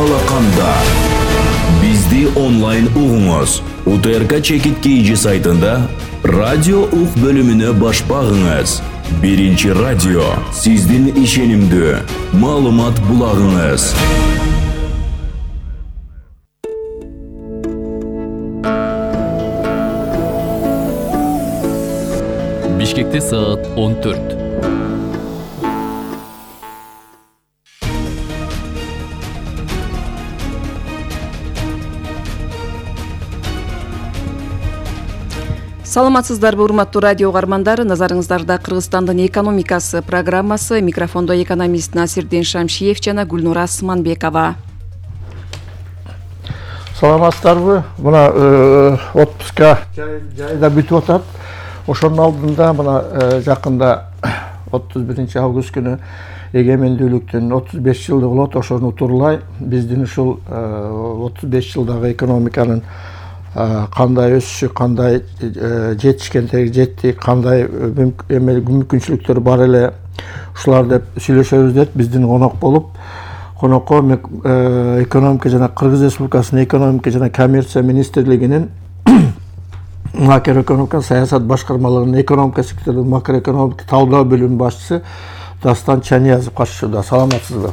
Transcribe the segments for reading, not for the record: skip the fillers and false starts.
алаканда. Бизди онлайн угуңуз. УТРК Чекит KG сайтында радио ук бөлүмүнө баш багыңыз. Биринчи радио, сиздин ишенимдүү маалымат булагыңыз. Бишкекте саат 14. Саламатсыздарбы, урматтуу радио угармандар. Назарыңыздарда Кыргызстандын экономикасы программасы. Микрофондо экономист Насирдин Шамшиев жана Гүлнура Асманбекова. Саламатсыздарбы. Мына отпуска жайда бүтүп атат. Ошонун алдында мына жакында 31 август күнү эгемендүүлүктүн 35 жылдыгы болот. Ошону утурлай биздин ушул 35 жылдагы экономиканын кандай өсүшү, кандай жетишкендеги жетти, кандай мүмкүнчүлүктөр бар эле, ушулар деп сүйлөшөбүз деп биздин конокко экономика жана Кыргыз Республикасынын экономика жана коммерция министрлигинин макроэкономика саясат башкармалыгынын экономика секторунун макроэкономика талдоо бөлүмүнүн башчысы Дастан Чаниязов катышууда. Саламатсызбы?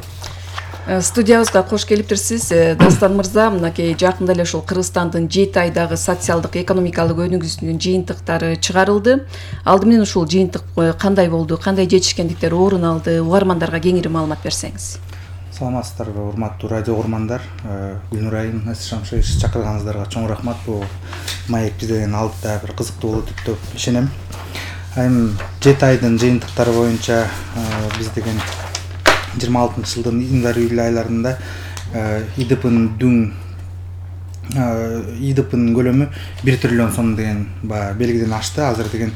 Студиябызга кош келиптирсиз. Дастан мырза, мынакей жакында эле ушул Кыргызстандын 7 айдагы социалдык экономикалык өнүгүүсүнүн жыйынтыктары чыгарылды. Алды менен ушул жыйынтык кандай болду, кандай жетишкендиктер орун алды, угармандарга кеңири маалымат берсеңиз. Саламатсыздарбы, урматтуу радио угармандар. Гүлнур айым, Шамшиев чакырганыңыздарга чоң рахмат. Бул маек бизде деген алда бир кызыктуу болот деп ишенем. Айым 7 айдын жыйынтыктары боюнча биз деген 26-жылдын январь-июль айларында ИДПнын көлөмү 1 триллион сом деген белгиден ашты. Азыр деген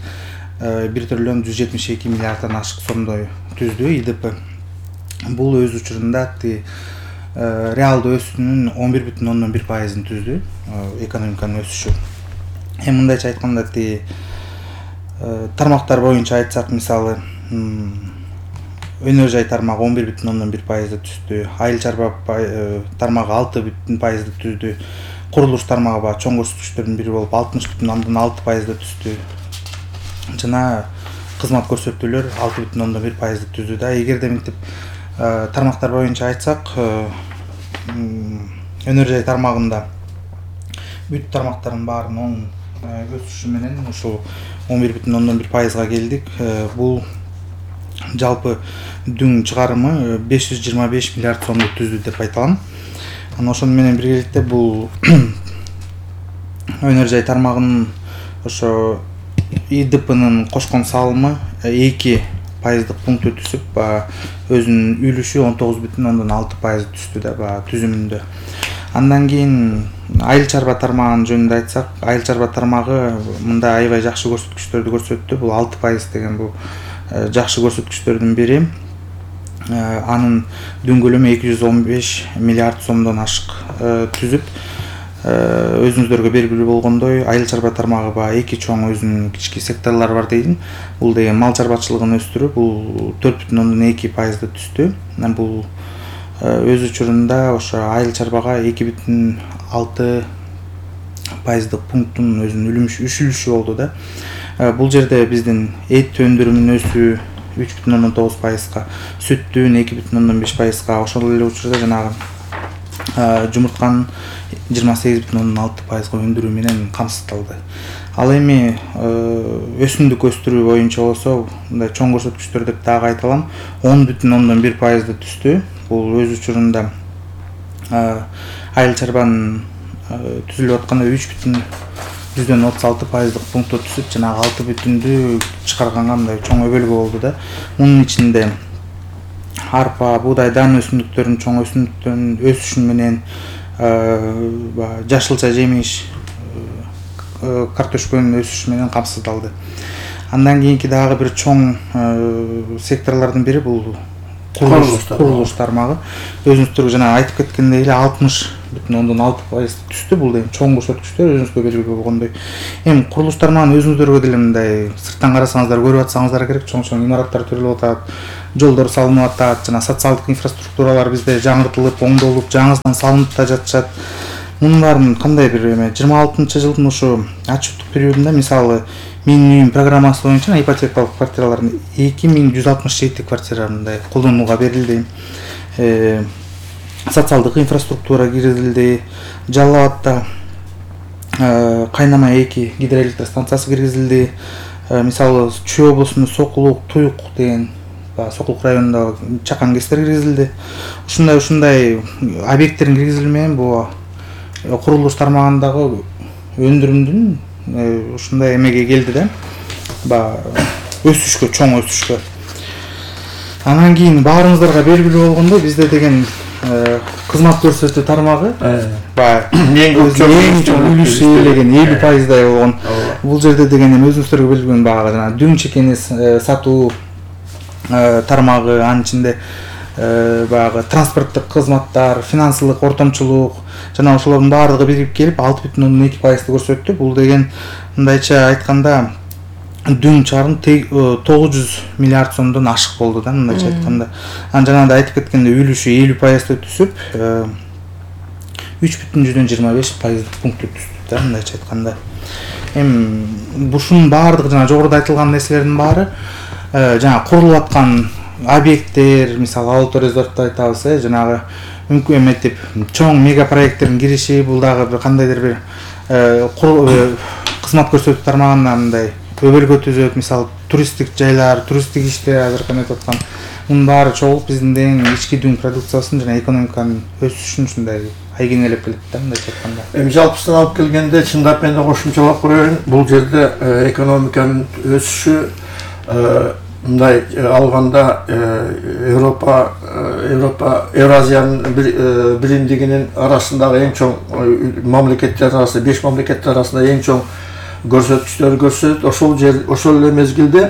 1 триллион 172 миллиарддан ашык сомдой түздү ИДП. Бул өз учурунда реалдуу өсүүнүн 11,1% түздү, экономиканын өсүшү. Мындайча айтканда тармактар боюнча айтсак, мисалы өнөр жай тармагы 11,1% түздү, айыл чарба тармагы 6,1% түздү, курулуш тармагы чоң көрсөткүчтөрдүн бири болуп 60,6% түздү. Жана кызмат көрсөтүүлөр 6,1% түздү да. Эгерде мынтип тармактар боюнча айтсак, өнөр жай тармагында бүт тармактардын баарынын оң өсүшү менен ушул 11,1%га келдик. Бул жалпы дүң чыгарымы 525 миллиард сомду түздү деп айталам. Ошону менен биргеликте бул өнөр жай тармагынын ошо ИДПнын кошкон салымы 2% пункт өтүшүп, өзүнүн үлүшү 19,6% түздү да түзүмүндө. Андан кийин айыл чарба тармагынын жөнүндө айтсак, айыл чарба тармагы мында аябай жакшы көрсөткүчтөрдү көрсөттү. Бул 6% деген бул жакшы көрсөткүчтөрдүн бири. Анын дүң көлөмү 215 миллиард сомдон ашык түзүп, өзүңүздөргө белгилүү болгондой, айыл чарба тармагы эки чоң өзүнүн кички секторлору бар дейин. Бул деген мал чарбачылыгын өстүрүү, бул 4,2% түздү. Бул өз учурунда ошо айыл чарбага 2,6% пункттун өзүнүн үлүшү болду да. Бул жерде биздин эт өндүрүмүнүн өсүү 3,9%га, сүттүн 2,5%га, ошол эле учурда жанагы жумуртканын 28,6%га өндүрүү менен камсыздалды. Ал эми өсүмдүк өстүрүү боюнча болсо, мындай чоң көрсөткүчтөр деп дагы айта алам, 10,1% түздү. Бул өз учурунда айыл чарбанын түзүлүп атканда 3,36% пунктто түзүп, жанагы 6,1-дү чыгарганга мындай чоң өбөлгө болду да. Мунун ичинде арпа, буудай, дан өсүмдүктөрүнүн чоң өсүмдүктөрүнүн өсүшү менен жашылча жемиш, картошканын өсүшү менен камсыздалды. Андан кийинки дагы бир чоң секторлордун бири бул курулуш тармагы. Өзүңүздөргө жана айтып кеткендей эле 60,6% түздү. Бул деген чоң көрсөткүчтөр, өзүңүзгө белгилүү болгондой. Эми курулуш тармагын өзүңүздөргө деле мындай сырттан карасаңыздар, көрүп атсаңыздар керек, чоң имараттар төрөлүп атат. жолдор салынып атат, жана социалдык инфраструктуралар бизде жаңыртылып, оңдолуп, жаңысынан салынып да жатышат. Мунун баарын кандай бир 26-жылдын ушу отчеттук периодунда мисалы менин үйүм программасы боюнча ипотекалык квартиралардын 2167 квартира мындай колдонууга берилди. Социалдык инфраструктура киргизилди. Жалал Абадта Кайнама 2 гидроэлектр станциясы киргизилди. Мисалы Чүй облусунун Сокулук, Туюк деген Сокулук районундагы чакан кестер киргизилди. Ушундай объекттердин киргизилмеген бул курулуш тармагындагы өндүрүмдүн ушундай эмеге келди да. Өсүшкө, чоң өсүшкө. Анан кийин баарыңыздарга белгилүү болгондой бизде деген кызмат көрсөтүү тармагы эң чоң үлүшү ээлеген 50%дай болгон. Бул жерде деген өзүңүздөргө белгилүү баягы жана дүң чекени сатуу тармагы, анын ичинде баягы транспорттук кызматтар, финансылык ортомчулук жана ошолордун баардыгы бирип келип 6,2%-ды көрсөттү. Бул деген мындайча айтканда дүң чарын 900 миллиард сомдон ашык болду да, мындайча айтканда. Анан жанагындай айтып кеткендей үлүшү 50%ды түшүп 3,25% пунктту түштү да, мындайча айтканда. Эми бушунун баардыгы жана жогоруда айтылган нерселердин баары жана курулуп аткан объекттер, мисалы Ауторезортду айтабыз, жанагы мүмкүн эметип чоң мега проекттердин кириши, бул дагы бир кандайдыр бир кызмат көрсөтүү тармагына мындай өбөлгө түзөт. Мисалы туристтик жайлар, туристтик иштер азыр эметип аткан. Мунун баары чогулуп биздин ички дүң продукциясын жана экономиканын өсүшүн ушундай айгинелеп келет да, мындайча айтканда. Эми жалпысынан алып келгенде чындап менде кошумчалап коеюн, бул жерде экономиканын өсүшү мындай алганда Евразиянын биримдигинин арасындагы эң чоң мамлекеттер арасында 5 мамлекеттер арасында эң чоң көрсөткүчтөрү көрсөтөт. Ошол эле мезгилде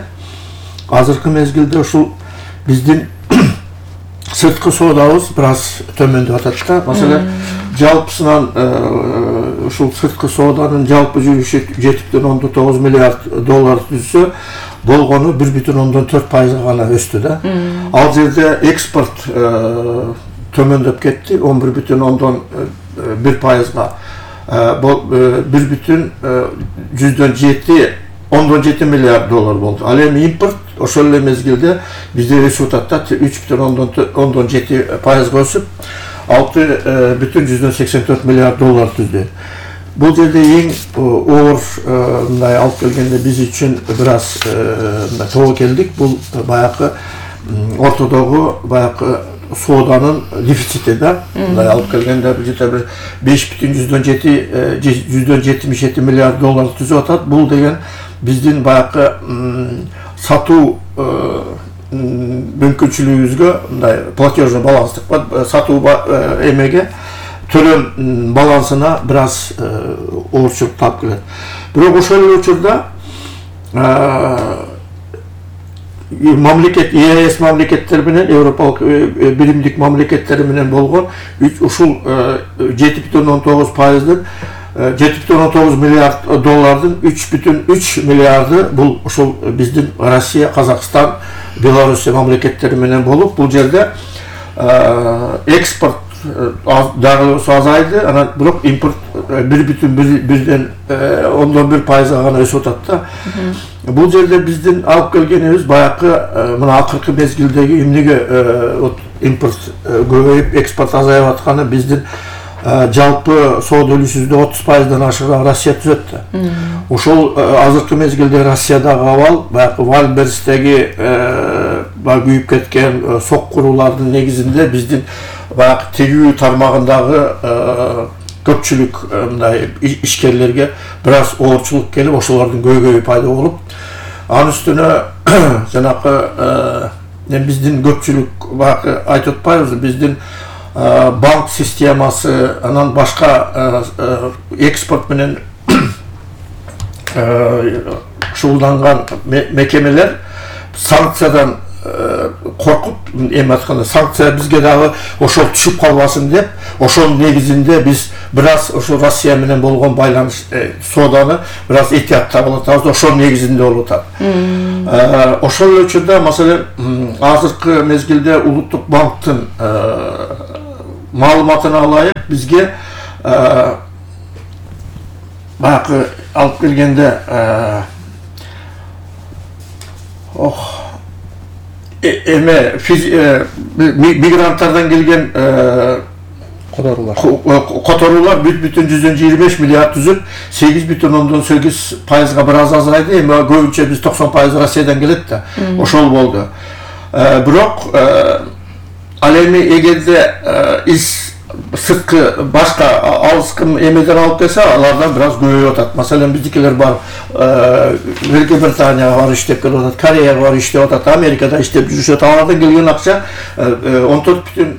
азыркы мезгилде ушул биздин сырткы соодабыз бир аз төмөндөп атат да. Маселен, жалпысынан ушул сырткы сооданын жалпы жүрүшү 7,9 миллиард доллар түзсө, болгону 1,4% гана өстү да. Ал жерде экспорт төмөндөп кетти 11,1%-га. 1,7 миллиард доллар болду. Ал эми импорт ошол эле мезгилде бизде өсүп атат да, 3,7%-га өсүп 6,84 миллиард доллар түздү. Бул жерде эң оор мындай алып келгенде биз үчүн бир аз тобокелдик бул баягы ортодогу баягы сооданын дефицити да. Мындай алып келгенде бир 5,177 миллиард доллар түзүп атат. Бул деген биздин баягы сатуу мүмкүнчүлүгүбүзгө мындай платежный баланстык сатуу эмеге төлөм балансына бир аз оорчулук таап келет. Бирок ошол эле учурда мамлекет ЕС мамлекеттери менен Европалык биримдик мамлекеттери менен болгон ушул 7,9%-дын 7,9 миллиард доллардын 3,3 миллиарды бул ушул биздин Россия, Казакстан, Белоруссия мамлекеттери менен болуп, бул жерде экспорт дагы азайды, анан бирок импорт 1,1%-га гана өсүп атат да. Бул жерде биздин алып келгенибиз баягы мына акыркы мезгилдеги эмнеге импорт көбөйүп, экспорт азайып атканы биздин жалпы соода үлүшүбүздө 30%-дан ашыгы Россия түзөт да. Ошол азыркы мезгилде Россиядагы абал баягы Вальберстеги күйүп кеткен сок куруулардын негизинде биздин баягы тегүү тармагындагы көпчүлүк мындай ишкерлерге бир аз оорчулук келип, ошолордун көйгөйү пайда болуп, анын үстүнө жанакы биздин көпчүлүк баягы айтып атпайбызбы, биздин банк системасы, анан башка экспорт менен шугулданган мекемелер санкциядан коркуп эми айтканда санкция бизге дагы ошол түшүп калбасын деп, ошонун негизинде биз бир аз ошо Россия менен болгон байланыш сооданы бир аз этияттап атабыз, ошонун негизинде болуп атат. Ошол учурда маселен азыркы мезгилде Улуттук банктын маалыматына алайык, бизге баягы алып келгенде мигранттардан келген которуулар 1,125 миллиард түзүп 8,8%га бир аз азайды. Эми көбүнчө биз 90% Россиядан келет да. Ошол болду. Бирок ал эми эгерде сырткы башка алыскы эмеден алып келсе, алардан бир аз көбөйүп атат. Маселен, биздикилер бар Великобританияга бар иштеп келип атат, Кореяга бар иштеп атат, Америкада иштеп жүрүшөт. Алардан келген акча 14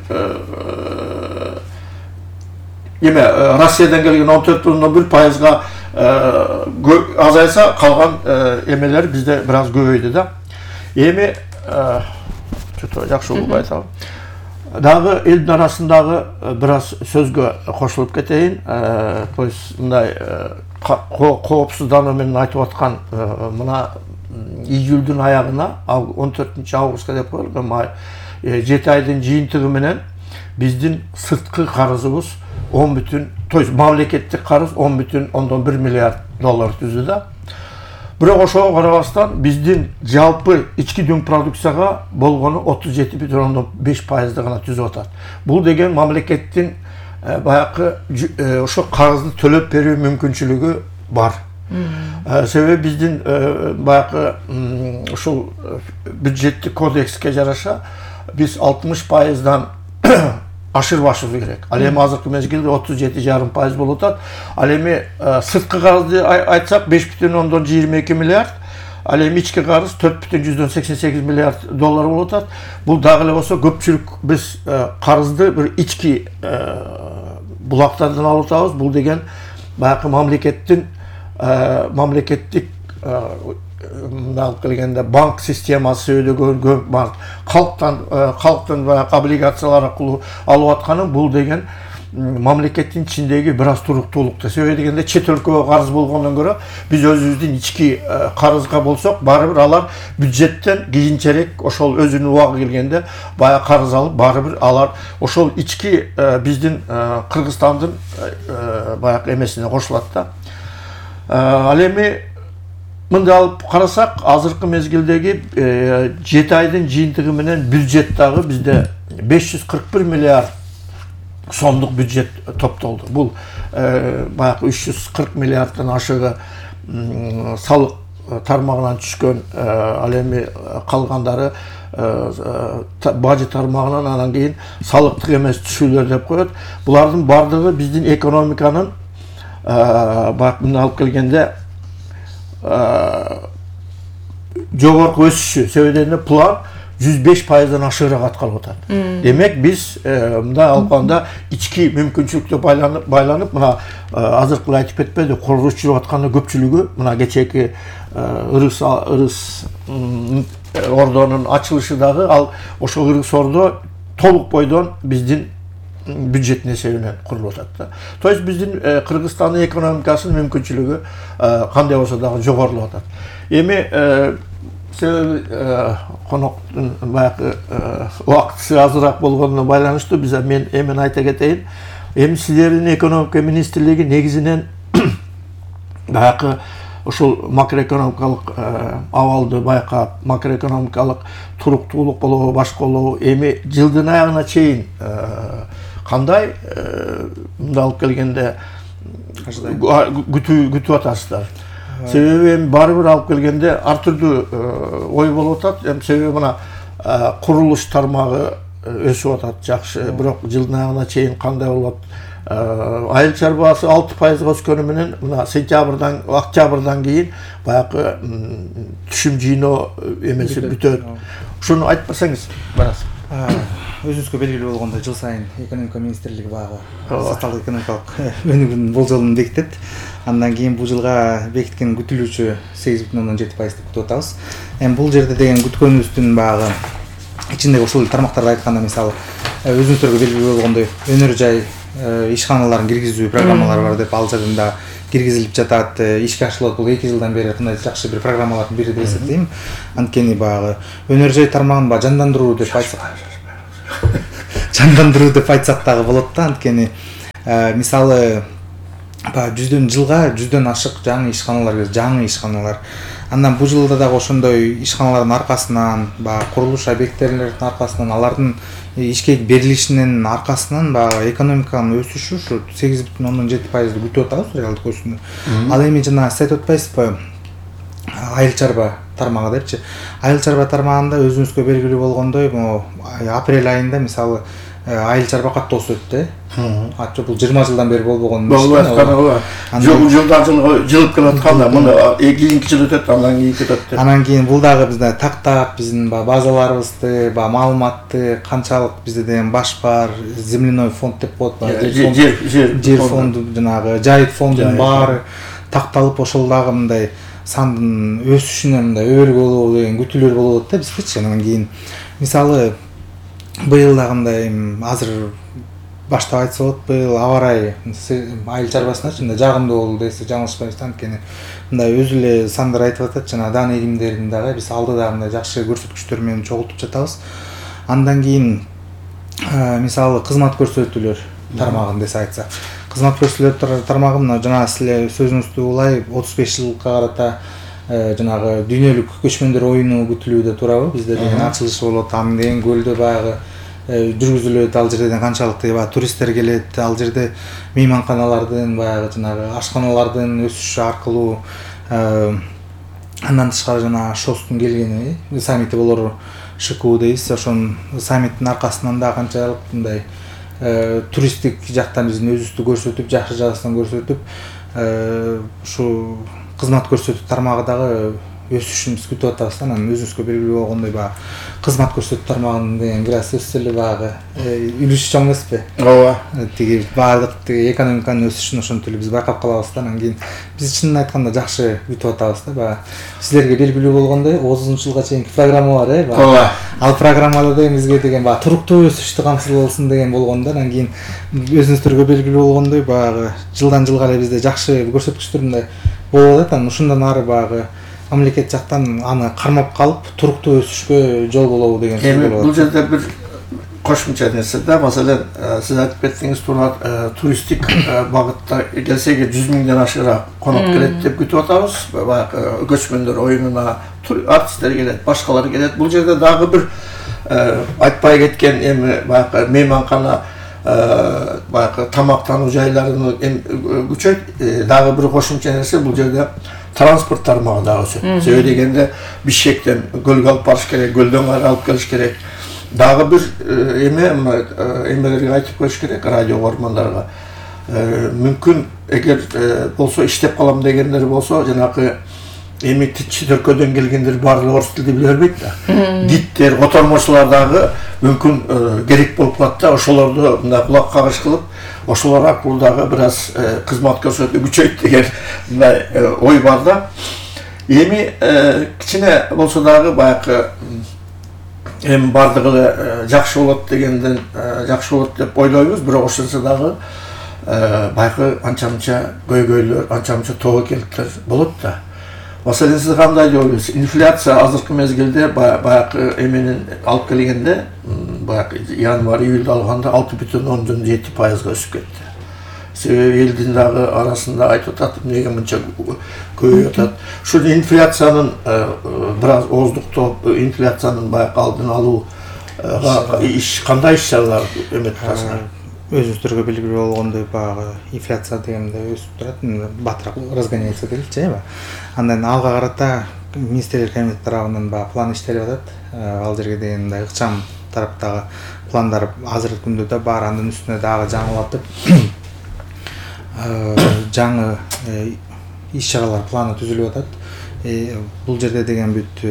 Россиядан келген 14,1%га азайса, калган эмелер бизде бир аз көбөйдү да. Эми жакшы болуп айтабын. Дагы элдин арасындагы бир аз сөзгө кошулуп кетейин. То есть мындай коопсуздануу менен айтып аткан мына июлдун аягына 14 августка деп коелу, 7 айдын жыйынтыгы менен биздин сырткы карызыбыз 10 то есть мамлекеттик карыз 10,1 миллиард доллар түздү да. Бирок ошого карабастан биздин жалпы ички дүң продукцияга болгону 37,5% гана түзүп атат. Бул деген мамлекеттин баягы ошо карызды төлөп берүү мүмкүнчүлүгү бар. Себеби биздин баягы ушул бюджеттик кодекске жараша биз 60%дан ашырбашыбыз керек. Ал эми азыркы мезгилде 37,5% болуп атат. Ал эми сырткы карызды айтсак 5,22 миллиард, ал эми ички карыз 4,188 миллиард доллар болуп атат. Бул дагы эле болсо көпчүлүк биз карызды бир ички булактардан алып атабыз. Бул деген баягы мамлекеттик алып келгенде банк системасы өйдөгөн бар. Калктын баягы облигациялар аркылуу алып атканы бул деген мамлекеттин ичиндеги бир аз туруктуулук. Себеби дегенде чет өлкөгө карыз болгондон көрө биз өзүбүздүн ички карызга болсок, бары бир алар бюджеттен кийинчерээк ошол өзүнүн убагы келгенде баягы карыз алып, бары бир алар ошол ички биздин Кыргызстандын баягы эмесине кошулат да. Ал эми мындай алып карасак, азыркы мезгилдеги 7 айдын жыйынтыгы менен бюджет дагы бизде 541 миллиард сомдук бюджет топтолду. Бул баягы 340 миллиарддан ашыгы салык тармагынан түшкөн, ал эми калгандары бажы тармагынан, анан кийин салыктык эмес түшүүлөр деп коет. Булардын бардыгы биздин экономиканын баягы мына алып келгенде жогорку өсүшү себебинен план 105%дан ашыгыраак аткарылып атат. Демек биз мындай алганда ички мүмкүнчүлүктө байланып мына азыркы айтып кетпеди, курулуш жүрүп атканы көпчүлүгү мына кечээки ырыс ордонун ачылышы дагы ал ошол ырыс ордо толук бойдон биздин бюджеттин эсебинен курулуп атат да. То есть биздин Кыргызстандын экономикасынын мүмкүнчүлүгү кандай болсо дагы жогорулуп атат. Эми себеби коноктун баягы убактысы азыраак болгонуна байланыштуу мен эми айта кетейин. Эми силердин экономика министрлиги негизинен баягы ошол макроэкономикалык абалды байкап, макроэкономикалык туруктуулук болобу, башка болобу, эми жылдын аягына чейин кандай мындай алып келгенде күтүп атасыздар? Себеби эми баары бир алып келгенде ар түрдүү ой болуп атат. Себеби мына курулуш тармагы өсүп атат жакшы, бирок жылдын аягына чейин кандай болот? Айыл чарбасы 6%га өскөнү менен мына сентябрдан, октябрдан кийин баягы түшүм жыйноо эмеси бүтөт. Ушуну айтып берсеңиз барас. Өзүңүзгө белгилүү болгондой, жыл сайын экономика министрлиги баягы социалдык экономикалык өнүгүүнүн болжолун бекитет. Андан кийин бул жылга бекиткен күтүлүүчү 8,7% деп күтүп атабыз. Эми бул жерде деген күткөнүбүздүн баягы ичиндеги ушул тармактарды айтканда мисалы өзүңүздөргө белгилүү болгондой өнөр жай ишканаларын киргизүү программалары бар деп ал жерден да киргизилип жатат, ишке ашырылат. Бул 2 жылдан бери кандай жакшы бир программалардын бири деп эсептейм. Анткени багы өнөр жай тармагын жандандыруу деп айтсак, дагы болот да. Анткени мисалы жылга 100дөн ашык жаңы ишканалар. Андан бул жылда дагы ошондой ишканалардын аркасынан, курулуш объекттеринин аркасынан, алардын ишке берилишинин аркасынан экономиканын өсүшү ушу 8,7% күтүп атабыз реалдык өсүүнү. Ал эми жана сиз айтып атпайсызбы, айыл чарба тармагы депчи. Айыл чарба тармагында өзүңүзгө белгилүү болгондой, апрель айында мисалы айыл чарба катуу өсөт да. Атчы бул 20 жылдан бери болбогон. Жылдан жылга жылып келатканда муну кийинки жыл өтөт, андан кийин кетет. Анан кийин бул дагы бизде тактап, биздин базаларыбызды, маалыматты канчалык бизде деген баш бар, земляной фонд деп коет, жер фонду, жанагы жайыт фондунун баары такталып, ошол дагы мындай сандын өсүшүнө мындай өбөлгө болобу деген күтүүлөр болот да биздечи. Анан кийин мисалы быйыл дагы азыр баштап айтса болот, быйыл аба ырайы айыл чарбасына мындай жагымдуу болду десе жаңылышпайбыз. Анткени мындай өзү эле сандар айтып атат, жана дан эгимдерин дагы биз алдыда мындай жакшы көрсөткүчтөр менен чогултуп жатабыз. Андан кийин мисалы кызмат көрсөтүүлөр тармагын десе айтсак, кызмат көрсөтүүлөр тармагы мына жана силер сөзүңүздү улай 35 жылга карата жанагы дүйнөлүк көчмөндөр оюну күтүлүүдө турабы, бизде деген ачылышы болот. Анан кийин көлдө баягы жүргүзүлөт, ал жерден канчалык туристтер келет, ал жерде мейманканалардын баягы жанагы ашканалардын өсүшү аркылуу андан тышкары жана ШОСтун келгени, саммити болор ШКУ дейбиз. Ошонун саммиттин аркасынан да канчалык мындай туристтик жактан биздин өзүбүздү көрсөтүп, жакшы жагынан көрсөтүп, ушу кызмат көрсөтүү тармагы дагы өсүшүн биз күтүп атабыз. Анан өзүңүзгө белгилүү болгондой кызмат көрсөтүү тармагынын деген бир аз сөзсүз эле үлүшү чоң эмеспи? Ооба. Тиги баардык экономиканын өсүшүн ошентип эле биз байкап калабыз да. Анан кийин биз чынын айтканда жакшы күтүп атабыз да. Силерге белгилүү болгондой 30 жылга чейинки программа бар, Ооба. Ал программада деген бизге деген туруктуу өсүштү камсыз болсун деген болгондо, анан кийин өзүңүздөргө белгилүү болгондой жылдан жылга эле бизде жакшы көрсөткүчтөр мындай болуп атат. Анан ушундан ары мамлекет жактан аны кармап калып туруктуу өсүшкө жол болобу деген сөз болот. Бул жерде бир кошумча нерсе да, маселен сиз айтып кеттиңиз, туристтик багытта келсеге 100 миңден ашыгыраак конок келет деп күтүп атабыз. Баягы көчмөндөр оюнуна артисттер келет, башкалар келет. Бул жерде дагы бир айтпай кеткен эми баягы мейманкана, баягы тамактануу жайларыны күчөйт. Дагы бир кошумча нерсе бул жерде транспорт тармагы дагы өсөт. Себеби дегенде Бишкектен көлгө алып барыш керек, көлдөн алып келиш керек. Дагы бир эмелерге айтып коюш керек радио көрмандарга. Мүмкүн эгер болсо иштеп калам дегендер болсо, жанагы эми чөйркөдөн келгендер баардыгы орус тилди биле бербейт да. Диттер, котормочулар дагы мүмкүн керек болуп калат да. Ошолорду мындай кулак кагыш кылып, ошолор аркылуу дагы бир аз кызмат көрсөтүү күчөйт деген мындай ой бар да. Эми кичине болсо дагы баягы эми баардыгы эле жакшы болот дегенден жакшы болот деп ойлойбуз, бирок ошонсо дагы баягы анча-мынча көйгөйлөр, анча-мынча тобокелдиктер болот да. Маселен сиз кандай деп ойлойсуз? Инфляция азыркы мезгилде баягы эменин алып келгенде, баягы январь-июльда алганда 6,7% өсүп кетти. Себеби элдин дагы арасында айтып атат, эмнеге мынча көбөйүп атат. Ушул инфляциянын бир аз ооздуктоп, инфляциянын баягы алдын алууга кандай иш-чаралар эметип атасыздар? Өзүңүздөргө белгилүү болгондой инфляция дегенде өсүп турат, батыраак разгоняется дейчи. Андан алга карата министрлер комитети тарабынан план иштелип атат. Ал жерге деген мындай ыкчам тараптагы пландар азыркы күндө да бар, анын үстүнө дагы жаңылатып жаңы иш-чаралар планы түзүлүп атат. Бул жерде деген бүт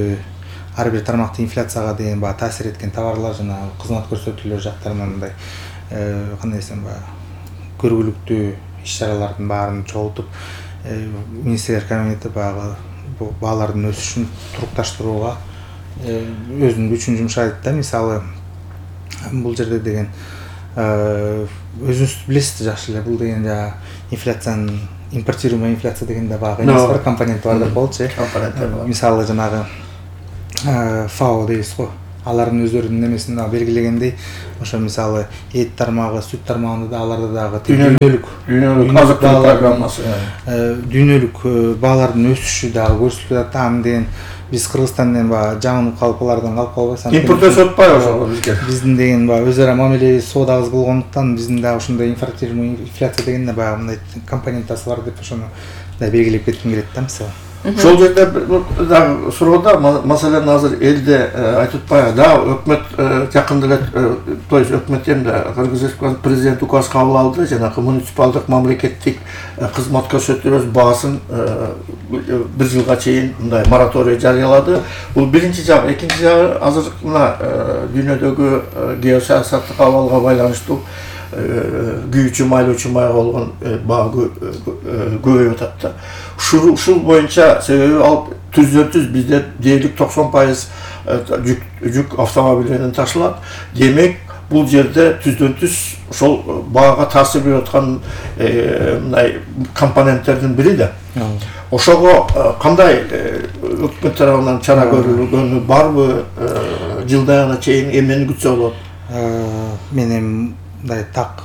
ар бир тармакта инфляцияга деген таасир эткен товарлар жана кызмат көрсөтүүлөр жактарынан мындай кандай десем көргүлүктүү иш-чаралардын баарын чогултуп министрлер комитети баалардын өсүшүн турукташтырууга өзүнүн күчүн жумшайт да. Мисалы бул жерде деген өзүңүз билесиз жакшы эле, бул деген жана инфляциянын импортируемый инфляция деген да багы эмес бар, компоненти бар деп болчу. Мисалы жанагы ФАО дейбиз го, алардын өздөрүнүн немесин белгилегендей, ошо мисалы эт тармагы, сүт тармагында да аларда дагы дүйнөлүк азык-түлүк программасы, дүйнөлүк баалардын өсүшү дагы көрсөтүлүп атат. Аны деген биз Кыргызстандан жаманып калып, алардан калып калбайбыз. Импорт өсүп атпайбы ошого бизге? Биздин деген өз ара мамилебиз соодабыз болгондуктан биздин дагы ушундай импортируемый инфляция деген баягы мындай компонентасы бар деп ошону да белгилеп кетким келет да. Мисалы ошол жерде дагы суроо маселен азыр элде айтып атпайбы да, өкмөт жакында эле, то есть өкмөт эмне Кыргыз Республикасынын президенти указ кабыл алды, жанагы муниципалдык мамлекеттик кызмат көрсөтүүлөр баасын 1 жылга чейин мындай мораторий жарыялады. Бул биринчи жагы. Экинчи жагы, азыр мына дүйнөдөгү геосаясаттык абалга байланыштуу күйүүчү майлоочу майга болгон баа көбөйүп атат да. Ушул боюнча себеби ал түз бизде дээрлик 90% жүк автомобилинен ташылат. Демек бул жерде түздөн-түз ошол баага таасир берип аткан мындай компоненттердин бири да. Ошого кандай өкмөт тарабынан чара көрүлгөнү барбы? Жылдагына чейин эмнени күтсө болот? Мен мындай так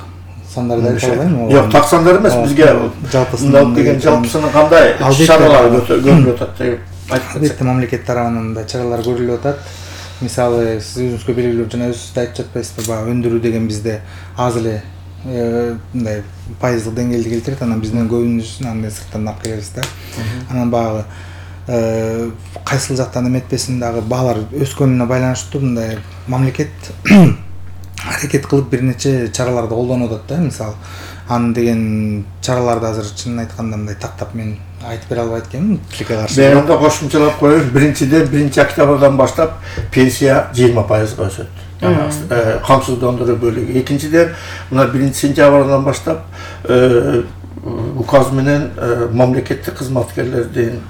сандарды айта албайм. Жок, так сандар эмес, бизге жалпысынан деген жалпысынан кандай чаралар көрүлүп атат деп айтып кетсек. Албетте мамлекет тарабынан да чаралар көрүлүп атат. Мисалы сиз өзүңүзгө белгилүү жана өзүңүз да айтып жатпайсызбы, баягы өндүрүү деген бизде аз эле мындай пайыздык деңгээлди келтирет, анан биздин көбүнчөсүн андай сырттан алып келебиз да. Анан баягы кайсыл жактан эметпесин дагы баалар өскөнүнө байланыштуу мындай мамлекет аракет кылып бир нече чараларды колдонуп атат да. Мисалы аны деген чараларды азыр чынын айтканда мындай тактап мен айтып бере албайт экенмин, тилекке каршы. Мен анда кошумчалап коеюн. Биринчиден 1-октябрдан баштап пенсия 20%га өсөт. Камсыздандыруу бөлүгү. Экинчиден мына 1-сентябрдан баштап указ менен мамлекеттик кызматкерлердин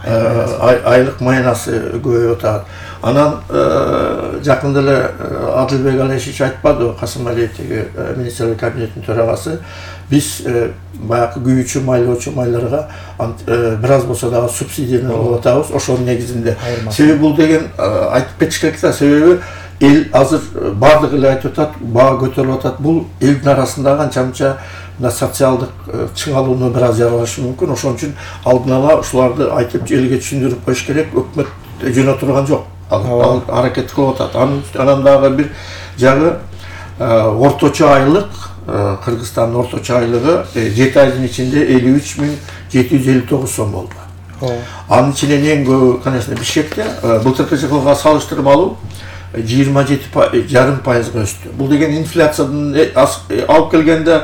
айлык майнасы көбөйүп атат. Анан жакында эле Адылбек Алешевич айтпадыбы, Касым Алиевтеги министрлер кабинетинин төрагасы, биз баягы күйүүчү майлоочу майларга бир аз болсо дагы субсидияны алып атабыз. Ошонун негизинде. Себеби бул деген айтып кетиш керек да, себеби эл азыр бардык эле айтып атат, баа көтөрүлүп атат. Бул элдин арасындагы анча-мынча социалдык чыңалууну бир аз жаралышы мүмкүн. Ошон үчүн алдын ала ушуларды айтып элге түшүндүрүп коюш керек. Өкмөт жөнө турган жок. Ал аракет кылып атат. Анан дагы бир жагы орточо айлык, Кыргызстандын орточо айлыгы 7 айдын ичинде 53.759 сом болду. Анын ичинен эң көбү, конечно, Бишкекте, былтыркы жылга салыштырмалуу 27,5% өстү. Бул деген инфляциядан алып келгенде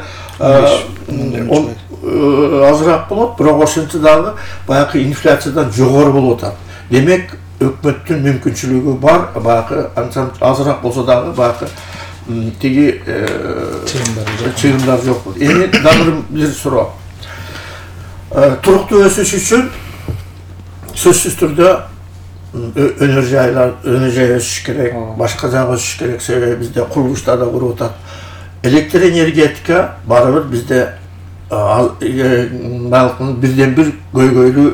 азыраак болот, бирок ошентсе дагы баягы инфляциядан жогору болуп атат. Демек, өкмөттүн мүмкүнчүлүгү бар, баягы азыраак болсо дагы баягы тиги чыгымдар жок. Эми дагы бир суроо. Туруктуу өсүш үчүн сөзсүз түрдө өнөр жай өсүш керек, башка жагы өсүш керек. Себеби бизде курулуштар да куруп атат. Электр энергетика барыбыр бизде бирден бир көйгөйлүү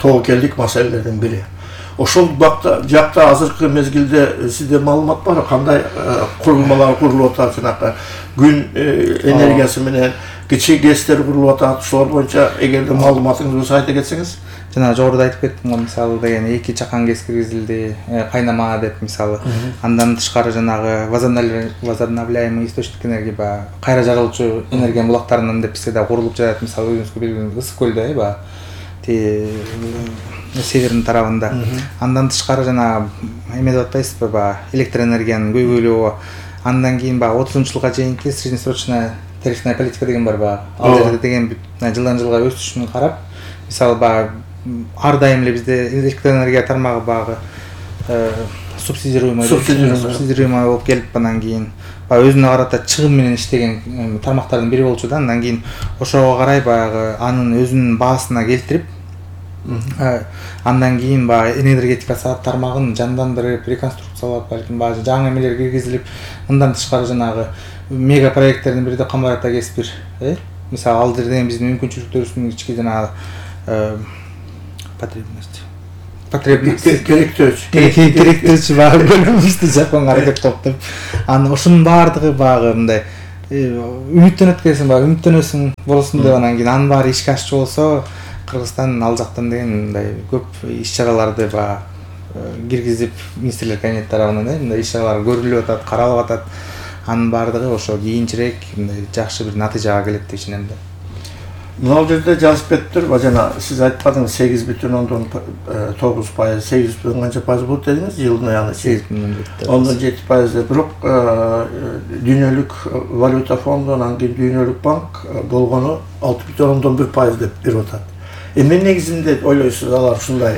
тобокелдик маселелердин бири. Ошол жакта азыркы мезгилде сизде маалымат бар, кандай курулмалар курулуп атат, жанагы күн энергиясы менен кичи ГЭСтер курулуп атат. Ошолор боюнча эгерде маалыматыңыз болсо айта кетсеңиз. Жана жогоруда айтып кеттим го, мисалы деген 2 чакан ГЭС киргизилди, кайнама деп мисалы. Андан тышкары жанагы возобновляемый источник энергия, баягы кайра жарылчу энергия булактарынан деп бизде да курулуп жатат. Мисалы өзүңүзгө белгилүү Ысык көлдө, баягы севердин тарабында. Андан тышкары жана эме деп атпайсызбы, баягы электр энергиянын көйгөйлүгү. Андан кийин баягы 30-жылга чейинки среднесрочная тарифная политика деген бар, баягы. Ал жерде деген жылдан жылга өсүшүн карап, мисалы баягы ар дайым эле бизде электр энергия тармагы баягы субсидируемый болуп келип, андан кийин баягы өзүнө карата чыгым менен иштеген тармактардын бири болчу да. Андан кийин ошого карай баягы анын өзүнүн баасына келтирип, Андан кийин баягы энергетика тармагын жандандырып, реконструкциялап, балким баягы жаңы эмелер киргизилип, мындан тышкары жанагы мега проекттердин бири да Камбар ата КС1, мисалы ал жерден биздин мүмкүнчүлүктөрүбүздүн ички жанагы керектөөчү баягы бөлүмүбүздү жапканга аракет кылып деп, анан ошонун баардыгы баягы мындай үмүттөнөт экенсиң, баягы үмүттөнөсүң болсун деп, анан кийин анын баары ишке ашчу болсо Кыргызстан ал жактан деген мындай көп иш-чараларды баягы киргизип, министрлер кабинети тарабынан мындай иш-чаралар көрүлүп атат, каралып атат. Анын баардыгы ошо кийинчерээк мындай жакшы бир натыйжага келет деп ишенем да. Мына жерде жазып кетиптир, жана сиз айтпадыңыз 8,9%, 8 канча пайыз болот дедиңиз, жылдын аягында 8,7%. Бирок Дүйнөлүк валюта фонду, анан кийин Дүйнөлүк банк болгону 6,1% деп берип атат. Эмне негизинде ойлойсуз алар ушундай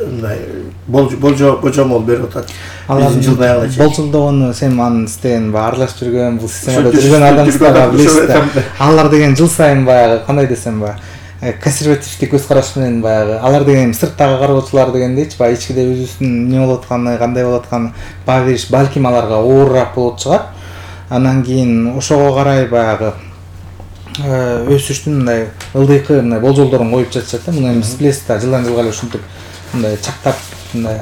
мындай божомол берип атат? Биздин жылдын аягына чейин. Болжолдогону сен анын стен аралашып жүргөн, бул системада жүргөн адамдар билесиз да. Алар деген жыл сайын баягы кандай десем консервативдик көз караш менен баягы алар деген сырттагы кароочулар дегендейчи, баягы ичкиде өзүбүздүн эмне болуп атканы, кандай болуп атканы баа бериш балким аларга оорураак болот чыгар. Анан кийин ошого карай баягы өсүштүн мындай ылдыйкы мындай болжолдорун коюп жатышат да. Муну биз билесиз да, жылдан жылга эле ушинтип мындай чактап мындай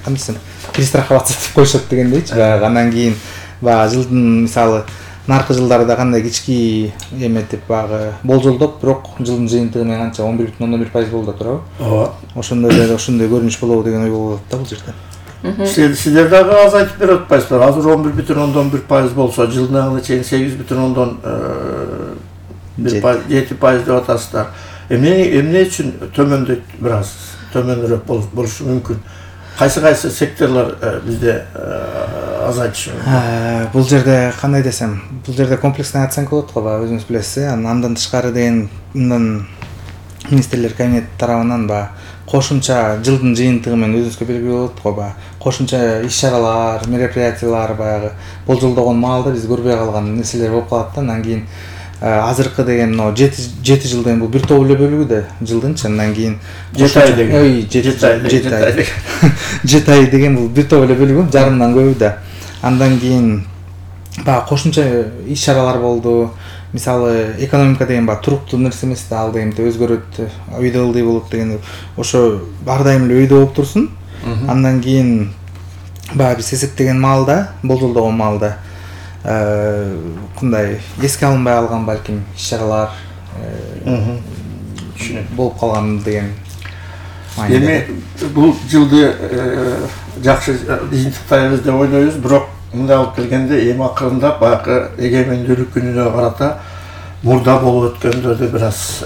кандай десем перестраховаться деп коюшат дегендейчи. Баягы андан кийин баягы жылдын мисалы наркы жылдарда кандай кички эметип баягы болжолдоп, бирок жылдын жыйынтыгы менен канча 11,1% болду да турабы? Ооба. Ошондой көрүнүш болобу деген ой болуп атат да бул жерде. Сиздер дагы аз айтып берип атпайсыздар. Азыр 11,1% болсо, жылдын аягына чейин 8,7% деп атасыздар. Эмне үчүн төмөндөйт, бир аз төмөнүрөөк болушу мүмкүн? Кайсы секторлор бизде азайтышы мүмкүн? Бул жерде кандай десем, бул жерде комплексный оценка болот го, өзүңүз билесиз. Андан тышкары деген мындан министрлер кабинети тарабынан кошумча жылдын жыйынтыгы менен өзүңүзгө белгилүү болот го, кошумча иш-чаралар, мероприятиялар баягы болжолдогон маалда биз көрбөй калган нерселер болуп калат да. Андан кийин азыркы деген мына 7 жыл деген бул бир топ эле бөлүгү да жылдынчы. Андан кийин 7 ай деген 7 ай деген бул бир топ эле бөлүгү, жарымдан көбү да. Андан кийин баягы кошумча иш-чаралар болду. Мисалы экономика деген туруктуу нерсе эмес да, ал дегенде өзгөрөт, өйдө ылдый болот деген. Ошо ар дайым эле өйдө болуп турсун. Андан кийин баягы биз эсептеген маалда, болжолдогон маалда кандай эске алынбай калган балким иш-чаралар болуп калган деген. Эми бул жылды жакшы жыйынтыктайбыз деп ойлойбуз, бирок мындай алып келгенде эми акырында баягы эгемендүүлүк күнүнө карата мурда болуп өткөндөрдү бир аз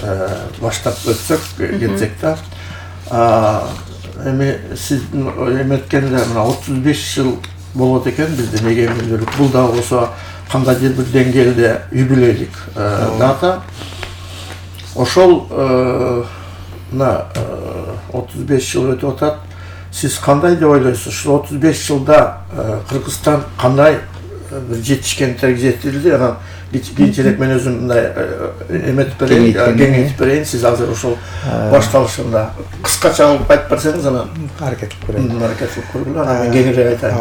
баштап өтсөк, кетсек да. Эми сиз эметкенде мына 35 жыл болот экен биздин эгемендүүлүк. Бул да болсо кандайдыр бир деңгээлде юбилейлик дата. Ошол мына 35 жыл өтүп атат. Сиз кандай деп ойлойсуз? Ушул 35 жылда Кыргызстан кандай бир жетишкендерге жетилди? Анан кийинчерээк мен өзүм мындай эметип берейин, кеңейтип берейин. Сиз азыр ошол башталышында кыскача алып айтып берсеңиз, анан аракет кылып көргүлө, анан мен кеңирээк айтайын.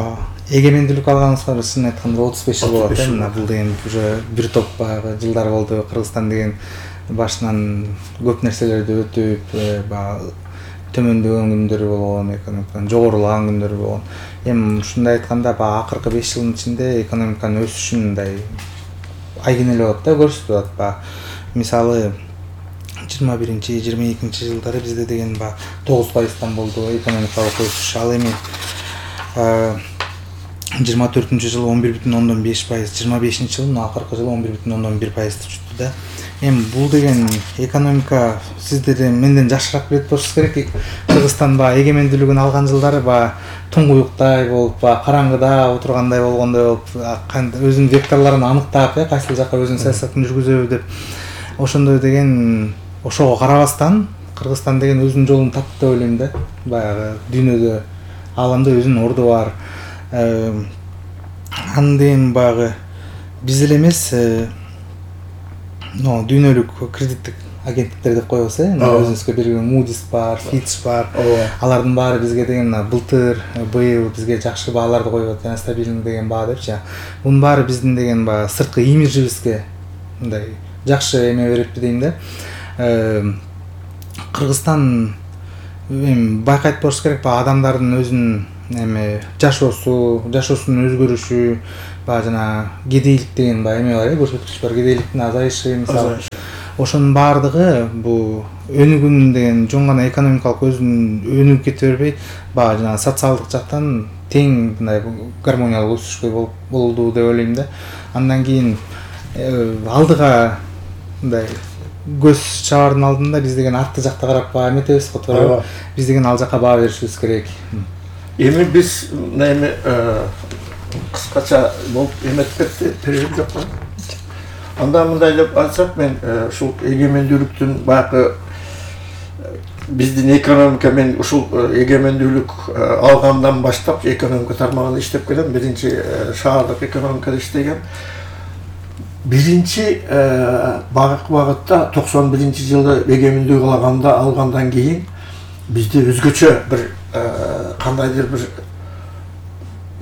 Эгемендүүлүк алганыбызга чын айтканда 35 жыл болот. Мына бул деген уже бир топ баягы жылдар болду. Кыргызстан деген башынан көп нерселерди өтүп, төмөндөгөн күндөрү болгон, экономиканын жогорулаган күндөрү болгон. Эми ушундай айтканда акыркы 5 жылдын ичинде экономиканын өсүшүн мындай айгинелеп атат да, көрсөтүп атат. Мисалы 21-22 жылдары бизде деген 9%-тан болду экономикалык өсүш. Ал эми 24-жылы 11,5%, 25-жылы акыркы жылы 11,1% түштү да. Эми бул деген экономика сиздер менден жакшыраак билет болушуңуз керек. Кыргызстан эгемендүүлүгүн алган жылдары туңгуюктай болуп, караңгыда отургандай болгондой болуп, өзүнүн векторлорун аныктап, кайсыл жакка өзүнүн саясатын жүргүзөбү деп. Ошондой деген, ошого карабастан Кыргызстан деген өзүнүн жолун тапты деп ойлойм да. Баягы дүйнөдө, ааламда өзүнүн орду бар. Анден баягы биз эле эмес, дүйнөлүк кредиттик агенттиктер деп коебуз, өзүбүзгө белгилүү Moody's бар, Fitch бар. Алардын баары бизге деген былтыр, быйыл бизге жакшы бааларды коюп атат, стабилдүү деген баа депчи. Бунун баары биздин деген баягы сырткы имиджибизге мындай жакшы эме берипти дейм да. Кыргызстан байкайт болуш керек, адамдардын өзүнүн эме жашоосунун өзгөрүшү, жана кедейлик деген эме бар, көрсөткүч бар, кедейликтин азайышы мисалы. Ошонун баардыгы бул өнүгүүнүн деген жөн гана экономикалык өзүнүн өнүгүп кете бербей, жана социалдык жактан тең мындай гармониялык өсүшкө болду деп ойлойм да. Андан кийин алдыга мындай көз чабардын алдында биз деген артты жакта карап эметебиз го, туура. Биз деген ал жакка баа беришибиз керек. Эми биз эми кыскача болуп эметип кетти, перерив жок го. Анда мындай деп айтсак, мен ушул эгемендүүлүктүн баягы биздин экономика, мен ушул эгемендүүлүк алгандан баштап экономика тармагында иштеп келем. Биринчи шаардык экономикада иштегем. Биринчи багытта 91-жылы эгемендүүлүк алгандан кийин бизде өзгөчө бир кандайдыр бир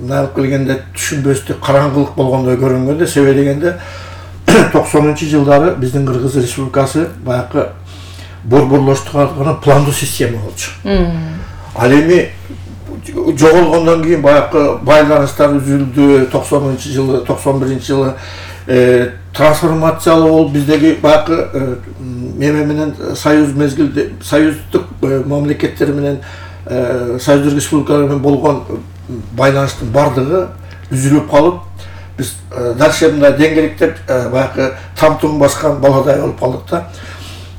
мындай келгенде түшүнбөстүк караңгылык болгондой көрүнгөндө, себеби дегенде 90-жылдары биздин Кыргыз Республикасы баягы борборлоштурулган пландуу система болчу. Ал эми жоголгондон кийин баягы байланыштар үзүлдү, 90-жылы, 91-жылы трансформациялуу болуп биздеги баягы эме менен союз мезгилде союздук мамлекеттер менен союздук республикалар менен болгон байланыштын бардыгы үзүлүп калып, биз дальше мындай деңгээликтеп баягы тамтуң баскан баладай болуп калдык да.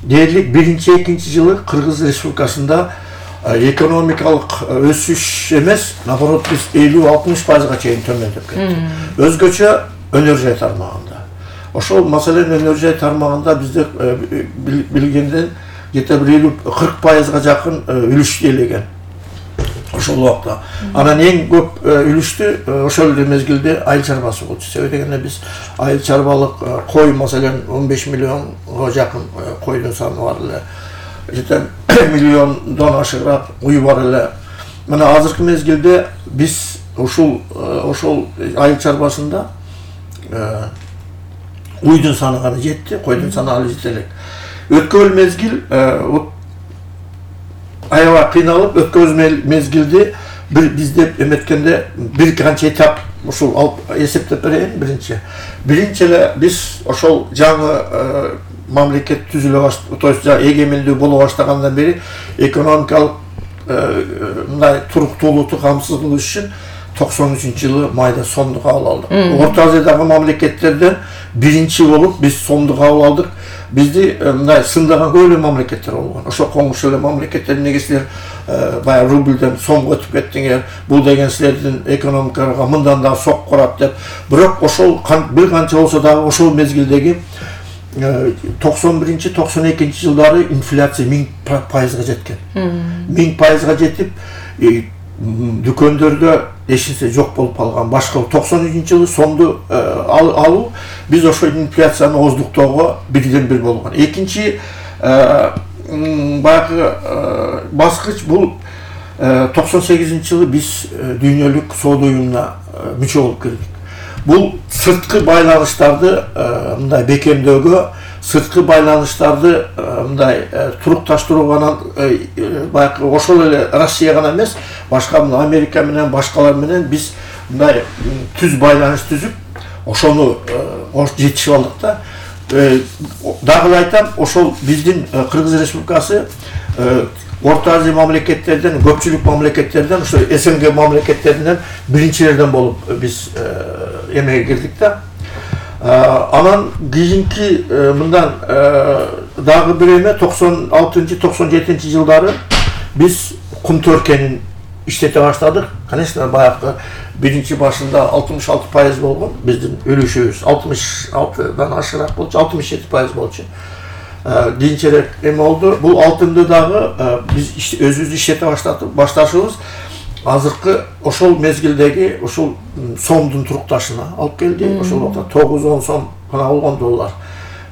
Дээрлик 1-2 жылы Кыргыз Республикасында экономикалык өсүш эмес, наоборот биз 50-60%га чейин төмөндөп кеттик. Өзгөчө өнөр жай тармагында. Ошол маселен өнөр жай тармагында бизде билгенден где-то 50-40%га жакын үлүш ээлеген. Ошол убакта. Анан эң көп үлүштү ошол мезгилде айыл чарбасы болчу. Себеби дегенде биз айыл чарбалык кой маселен 15 миллионго жакын койдун саны бар эле. Жетен миллиондон ашыгыраак уй бар эле. Мына азыркы мезгилде биз ошол айыл чарбасында уйдун саны гана жетти, койдун саны алы жете элек. Өткөн мезгил аябай кыйналып, өткөн мезгилде бизде эметкенде бир канча этап ушул алып эсептеп берейин. Биринчи эле биз ошол жаңы мамлекет түзүлө баштаган, то есть эгемендүү боло баштагандан бери экономикалык мындай туруктуулукту камсыз кылыш үчүн 93-жылы майда сомду кабыл алдык. Орто Азиядагы мамлекеттерден биринчи болуп биз сомду кабыл алдык. Бизди мындай сындаган көп эле мамлекеттер болгон. Ошо коңуш эле мамлекеттер эмнеге силер баягы рубльден сомго өтүп кеттиңер, бул деген силердин экономикага мындан да сок көрөт деп. Бирок ошол бир канча болсо дагы ошол мезгилдеги 91-92 жылдары инфляция 1000%га жеткен. 1000%га жетип, дүкөндөрдө эчнерсе жок болуп калган. Башка 93-жылы сомду алуу биз ошол инфляцияны оздуктоого бирден бир болгон. Экинчи баягы баскыч бул 98-жылы биз дүйнөлүк соода уюмуна мүчө болуп келдик. Бул сырткы байланыштарды мындай бекемдөөгө, сырткы байланыштарды мындай турукташтырууга баягы ошол эле Россия гана эмес, башка Америка менен башкалар менен биз мындай түз байланыш түзүп, ошону жетишип алдык да. Дагы айтам, ошол биздин Кыргыз Республикасы Орто Азия мамлекеттерден, көпчүлүк мамлекеттерден, ошо СНГ мамлекеттеринен биринчилерден болуп биз эмеге кирдик да. Анан кийинки мындан дагы бир эме 96-97 жылдары биз кум төркенин иштете баштадык. Конечно, баягы биринчи башында 66% болгон биздин үлүшүбүз, 66дан ашыраак болчу, 67% болчу. Кийинчерээк эме болду. Бул алтынды дагы биз өзүбүз иштете башташыбыз азыркы ошол мезгилдеги ошол сомдун турукташына алып келди. Ошол убакта 9-10 сом гана болгон доллар.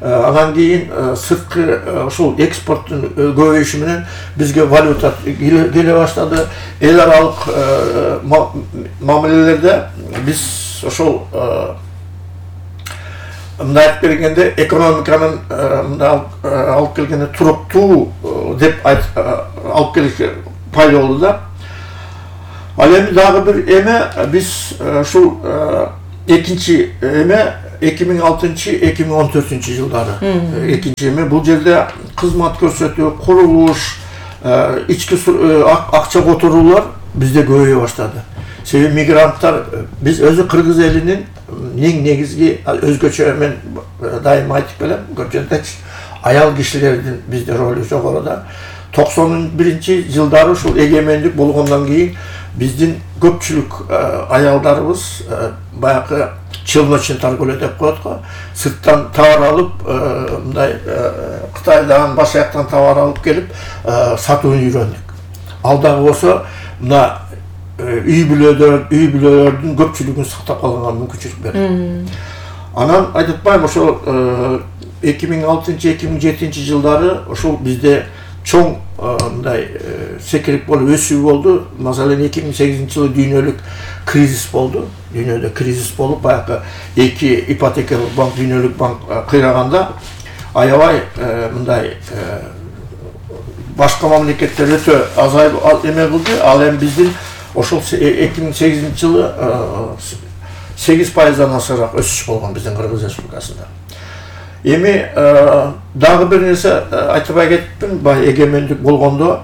Анан кийин сырткы ушул экспорттун көбөйүшү менен бизге валюта келе баштады. Эл аралык мамилелерде биз ошол мындай айтып бергенде экономиканын алып келгенде туруктуу деп алып келиши пайда болду да. Ал эми дагы бир эме биз ушул экинчи эме 2006-2014 жылдары экинчи эме бул жерде кызмат көрсөтүү, курулуш, ички акча которуулар бизде көбөйө баштады. Себеби мигранттар биз өзү кыргыз элинин эң негизги өзгөчө мен дайыма айтып келем, көп жерде аял кишилердин бизде ролу жогоруда. 91 жылдары ушул эгемендик болгондон кийин биздин көпчүлүк аялдарыбыз баягы челночный торговля деп коет го. Сырттан товар алып, мындай Кытайдан башка жактан товар алып келип сатууну үйрөндүк. Ал дагы болсо мына үй бүлөлөрдүн көпчүлүгүн сактап калганга мүмкүнчүлүк берди. Анан айтып атпайм, ошол 2006-2007 жылдары ошол бизде чоң мындай секирип болуп өсүү болду. Маселен 2008 жылы дүйнөлүк кризис болду. Дүйнөдө кризис болуп, баягы эки ипотекалык банк, дүйнөлүк банк кыйраганда аябай мындай башка мамлекеттер өтө азайып эме кылды. Ал эми биздин ошол 2008 жылы 8%-дан ашыраак өсүш болгон биздин Кыргыз Республикасында. Эми дагы бир нерсе айтпай кеттим, бай эгемендик болгондо,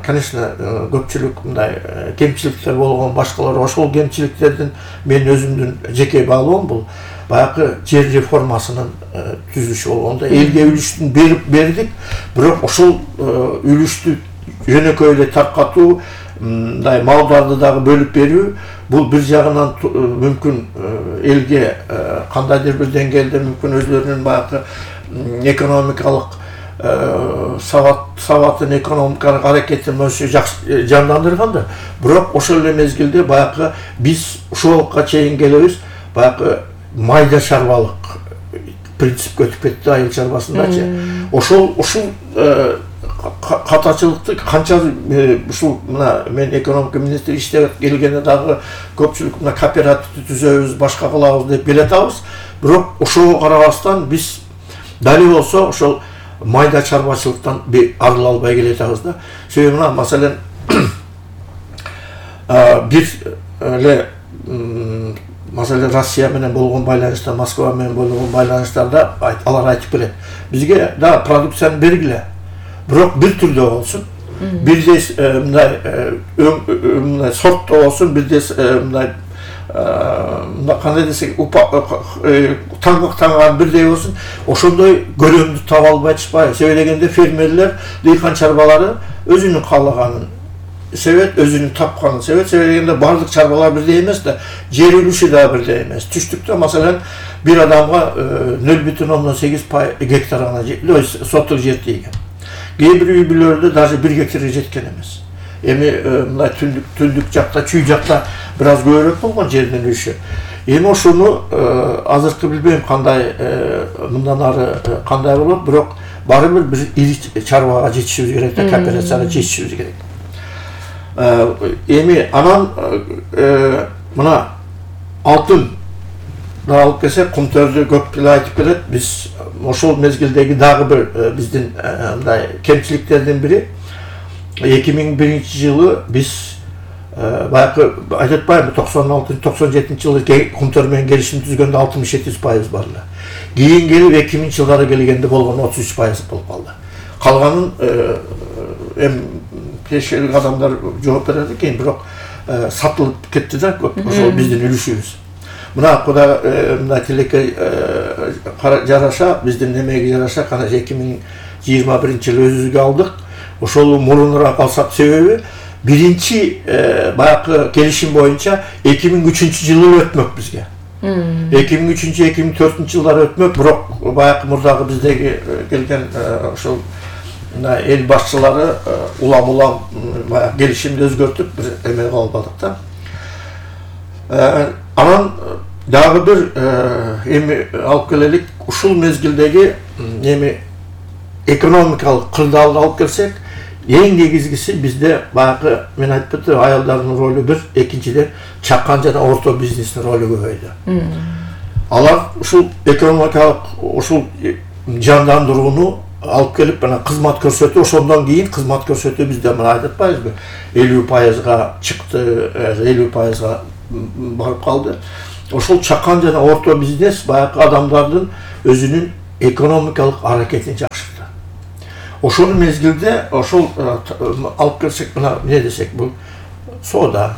конечно, көпчүлүк мындай кемчиликтер болгон, башкалар ошол кемчиликтердин мен өзүмдүн жеке баалоом бул баягы жер реформасынын түзүлүшү болгондо элге үлүштүн бердик, бирок ошол үлүштү жөнөкөй эле таркатуу, мындай малдарды дагы бөлүп берүү, бул бир жагынан мүмкүн элге кандайдыр бир деңгээлде мүмкүн өзлөрүнүн баягы экономикалык сабатын, экономикалык аракетин жакшы жандандырганда, бирок ошол эле мезгилде баягы биз ушулга чейин келебиз, баягы майда чарбалык принципке өтүп кетти айыл чарбасындачы. Ушул катачылыкты канча ушул мына мен экономика министри иштеп келгенде дагы көпчүлүк мына кооперативди түзөбүз, башка кылабыз деп келатабыз. Бирок ошого карабастан биз дали болсо ошол майда чарбачылыктан арыла албай келатабыз да. Себеби мына маселен бир эле маселен Россия менен болгон байланышта, Москва менен болгон байланыштарда алар айтып келет. Бизге да продукцияны бергиле. Бирок бир түрдө болсун, бирдей мындай сортто болсун, бирдей мындай кандай десек, таңган бирдей болсун, ошондой көлөмдү таба албай атышпайбы. Себеби дегенде фермерлер, дыйкан чарбалары өзүнүн каалаганын себеп, өзүнүн тапканын себеп. Себеби дегенде бардык чарбалар бирдей эмес да, жер үлүшү да бирдей эмес. Түштүктө маселен бир адамга 0,8 гектар гана соттук жер тийген. Кээ бир үй бүлөлөрдө даже 1 гектарга жеткен эмес. Эми мындай түндүк жакта, чүй жакта бир аз көбүрөөк болгон жердин үлүшү. Эми ошону азыркы билбейм кандай мындан ары кандай болот, бирок баары бир ири чарбага жетишибиз керек да, кооперацияга жетишибиз керек. Эми анан мына алтын алып келсек, кумтөрдү көп эле айтып келет. Биз ошол мезгилдеги дагы бир биздин мындай кемчиликтердин бири 2001 жылы биз баягы айтып атпаймынбы, 96-97 жылы кумтөр менен келишим түзгөндө 67% бар эле. Кийин келип 2000 жылдары келгенде болгон 33% болуп калды. Калганын эми пешелик адамдар жооп берет экен, бирок сатылып кетти да көп, ошол биздин үлүшүбүз. Мына куда мына тилекке жараша, биздин немеге жараша, кана 2021 жылы өзүбүзгө алдык. Ошол мурунураак алсак, себеби биринчи баягы келишим боюнча 2003 жылы өтмөк бизге. 2003-2004 жылдары өтмөк, бирок баягы мурдагы биздеги келген ошол эл башчылары улам баягы келишимди өзгөртүп бир эме кылып албадык да. Анан дагы бир эми алып келелик, ушул мезгилдеги эми экономикалык кырдаалды алып келсек, эң негизгиси бизде баягы мен айтып кеттим, аялдардын ролу бир, экинчиден чакан жана орто бизнестин ролу көбөйдү. Алар ушул экономикалык ушул жандандырууну алып келип мына кызмат көрсөтүү, ошондон кийин кызмат көрсөтүү бизде мына айтып атпайбызбы, 50%га чыкты, 50%га барып калды. Ошол чакан жана орто бизнес баягы адамдардын өзүнүн экономикалык аракетин жакшыртты. Ошол мезгилде ошол алып келсек мына эмне десек, бул соода,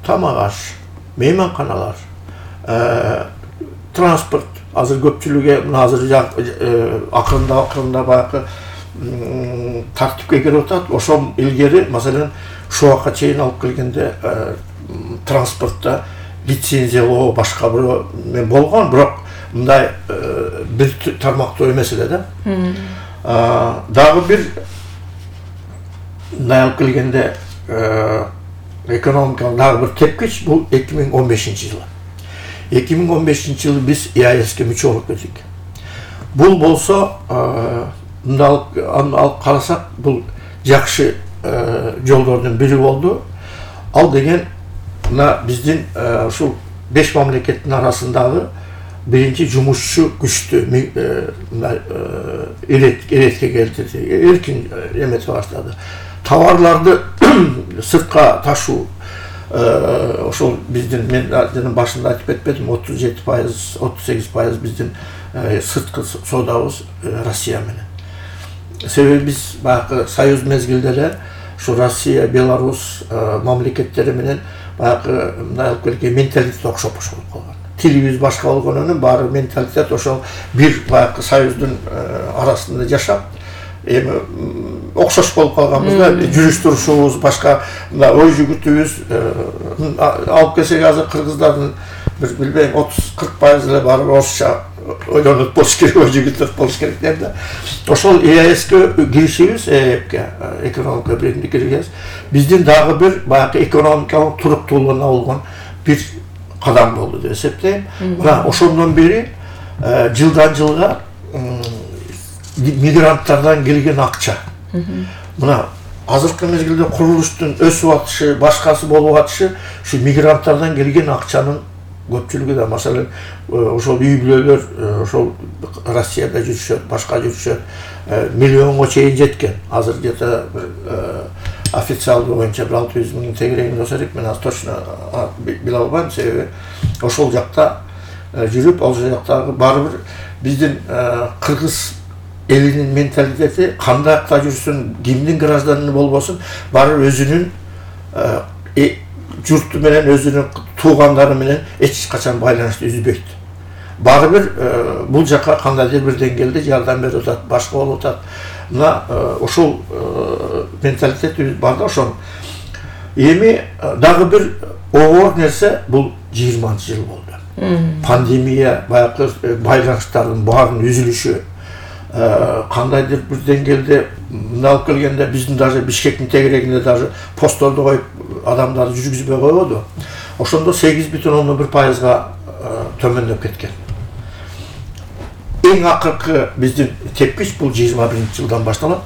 тамак аш, мейманканалар, транспорт, азыр көпчүлүгү мына азыр акырында баягы тартипке кирип атат. Ошол илгери маселен Шуакка чейин алып келгенде транспортто лицензиялоо башка бирөө мен болгон, бирок мындай бир тармактуу эмес эле да. Дагы бир мындай алып келгенде экономикалык дагы бир тепкич бул 2015-жылы. 2015-жылы биз ЕАЭСке мүчө болуп кеттик. Бул болсо мындай алып карасак, бул жакшы жолдордун бири болду. Ал деген мына биздин ушул 5 мамлекеттин арасындагы биринчи жумушчу күчтү эретке келтирди, эркин эметип баштады. Товарларды сыртка ташуу, ошол биздин мен жана башында айтып кетпедим, 37%, 38% биздин сырткы соодабыз Россия менен. Себеби биз баягы союз мезгилде эле ушу Россия, Беларусь мамлекеттери менен баягы мындай алып келген менталитет окшоп болуп калган. Тилибиз башка болгонунун баары менталитет ошол бир баягы союздун арасында жашап, эми окшош болуп калганбыз да, жүрүш турушубуз башка, мына ой жүгүтүбүз алып келсек азыр кыргыздардын бир билбейм 30-40% эле баары орусча ойлонуп болуш керек, ой жүгүтүп болуш керек деп да. Ошол ЕАЭСке киришибиз, ЭЭПке, экономика биримдик киришибиз биздин дагы бир баягы экономикалык туруктуулугуна болгон бир кадам болду деп эсептейм. Мына ошондон бери жылдан жылга мигранттардан келген акча. Мына азыркы мезгилде курулуштун өсүп атышы, башкасы болуп атышы ушу мигранттардан келген акчанын көпчүлүгү да, маселен ошол үй бүлөлөр ошол Россияда жүрүшөт, башка жүрүшөт, миллионго чейин жеткен. Азыр где-то официалдуу боюнча 600 миң тегерегин болсо керек, мен азыр точно биле албайм, себеби ошол жакта жүрүп, ал жактагы баары бир биздин кыргыз элинин менталитети кандайда жүрсүн, кимдин гражданины болбосун, баары өзүнүн журту менен, өзүнүн туугандары менен эч качан байланышты үзбөйт. Баары бир бул жака кандайдыр бир деңгээлде жардам берип атат, башка болуп атат. Мына ошол менталитет бар да ошол. Эми дагы бир оор нерсе бул 20-жыл болду. Пандемия баягы байланыштардын баарын үзүлүшү, кандайдыр бир деңгээлде мына алып келгенде биздин даже Бишкектин тегерегинде даже постторду коюп адамдарды жүргүзбөй койбоду. Ошондо 8,1%га төмөндөп кеткен. Эң акыркы биздин тепкич бул 21-жылдан башталат.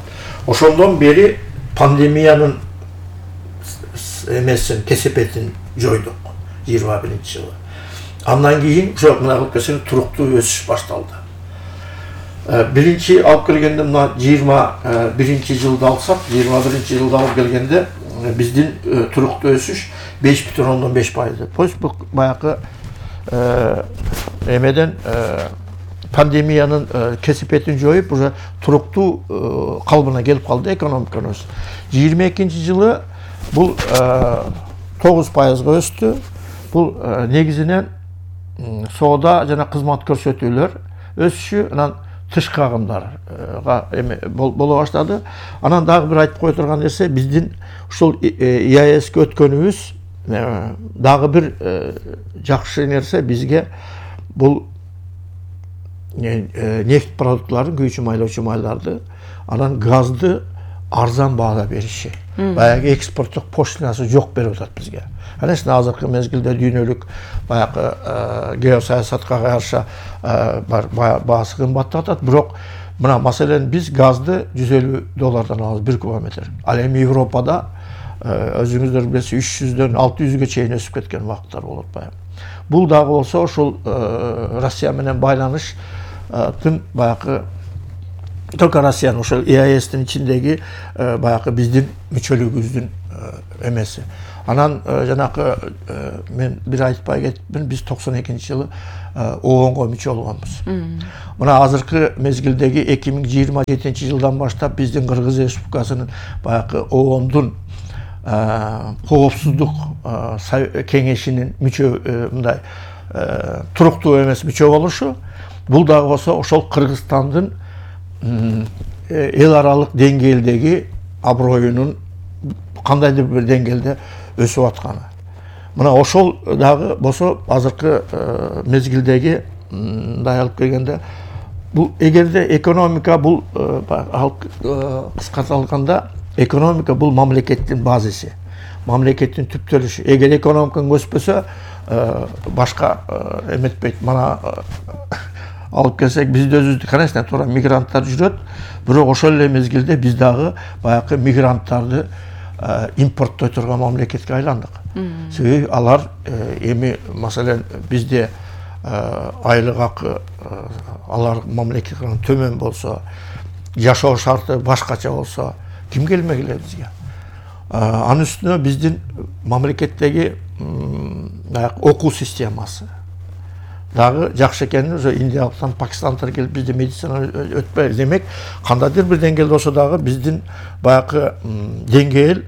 Ошондон бери пандемиянын эмесин, кесепетин жойдук 21-жылы. Андан кийин ошо мына алып келсең туруктуу өсүш башталды. Биринчи алып келгенде мына 21-жылды алсак, 21-жылда алып келгенде биздин туруктуу өсүш 5,5%. Бул баягы эмеден пандемиянын кесепетин жоюп, уже туруктуу калыбына келип калды экономикабыз. 22-жылы бул 9%га өстү. Бул негизинен соода жана кызмат көрсөтүүлөр өсүшү, анан тышкы агымдарга боло баштады. Анан дагы бир айтып кое турган нерсе, биздин ушул ЕАЭСке өткөнүбүз дагы бир жакшы нерсе бизге бул нефть продуктларын, күйүүчү майлоочу майларды, анан газды арзан баада бериши. баягы экспорттук пошлинасы жок берип атат бизге. Конечно, азыркы мезгилде дүйнөлүк баягы геосаясатка каршы баасы кымбаттап атат, бирок мына маселен биз газды $150 алабыз 1 кубометр. Ал эми Европада өзүңүздөр билесиз 300дөн 600ге чейин өсүп кеткен убакыттар болот баягы. Бул дагы болсо ушул Россия менен байланыштын баягы только Россиянын ошол ЕАЭСтин ичиндеги баягы биздин мүчөлүгүбүздүн эмеси. Анан жанакы мен бир айтпай кетипмин, биз 92-жылы ООНго мүчө болгонбуз. Мына азыркы мезгилдеги 2027-жылдан баштап биздин Кыргыз Республикасынын баягы ООНдун коопсуздук кеңешинин мүчө мындай туруктуу эмес мүчө болушу, бул дагы болсо ошол Кыргызстандын эл аралык деңгээлдеги аброюнун кандайдыр бир деңгээлде өсүп атканы. Мына ошол дагы болсо азыркы мезгилдеги мындай алып келгенде, бул эгерде экономика бул кыскартылганда экономика бул мамлекеттин базиси, мамлекеттин түптөлүшү. Эгер экономикаң өспөсө, башка эметпейт. Мана алып келсек, бизде өзүбүздү, конечно, туура мигранттар жүрөт, бирок ошол эле мезгилде биз дагы баягы мигранттарды импорттой турган мамлекетке айландык. Себеби алар эми маселен бизде айлык акы алар мамлекеттен төмөн болсо, жашоо шарты башкача болсо, ким келмегиле бизге? Анын үстүнө биздин мамлекеттеги окуу системасы дагы жакшы экенин, ошо Индиялыктан, Пакистандыктар келип бизде медицина өтпөй. Демек, кандайдыр бир деңгээлде болсо дагы биздин баягы деңгээл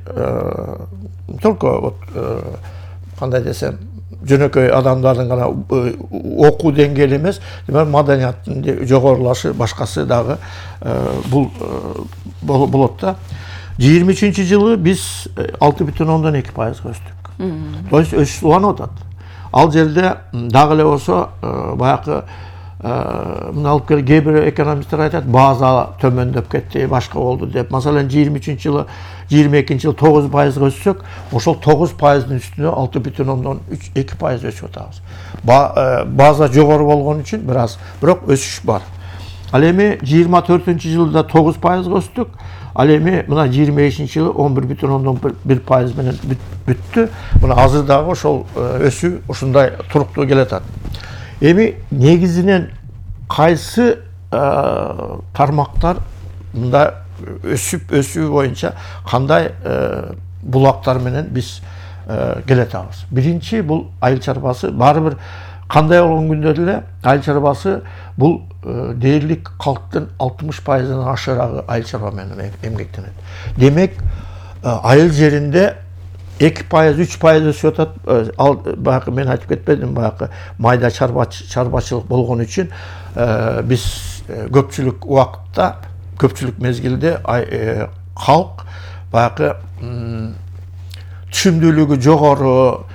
только вот кандай десем, жөнөкөй адамдардын гана окуу деңгээли эмес, демек маданияттын жогорулашы, башкасы дагы бул болот да. 23-жылы биз 6,2% өстүк. То есть өсүш уланып атат. Ал жерде дагы эле болсо баягы мына алып кел, кээ бир экономисттер айтат, база төмөндөп кетти, башка болду деп. Маселен 23-жылы 22-жылы 9% өссөк, ошол 9%-дын үстүнө 6,2% өсүп атабыз. База жогору болгон үчүн бир аз, бирок өсүш бар. Ал эми 24-жылда 9% өстүк. Ал эми мына 25-жылы 11,1% менен бүттү. Мына азыр дагы ошол өсүү ушундай туруктуу келатат. Эми негизинен кайсы тармактар мында өсүү боюнча кандай булактар менен биз келатабыз? Биринчи бул айыл чарбасы. Баары бир кандай болгон күндө деле айыл чарбасы бул дээрлик калктын 60%-дан ашырагы айыл чарба менен эмгектенет. Демек, айыл жеринде 2%-3% өсүп атат. Ал баягы мен айтып кетпедим, баягы майда чарбачылык болгон үчүн биз көпчүлүк убакытта, көпчүлүк мезгилде калк баягы түшүмдүүлүгү жогору,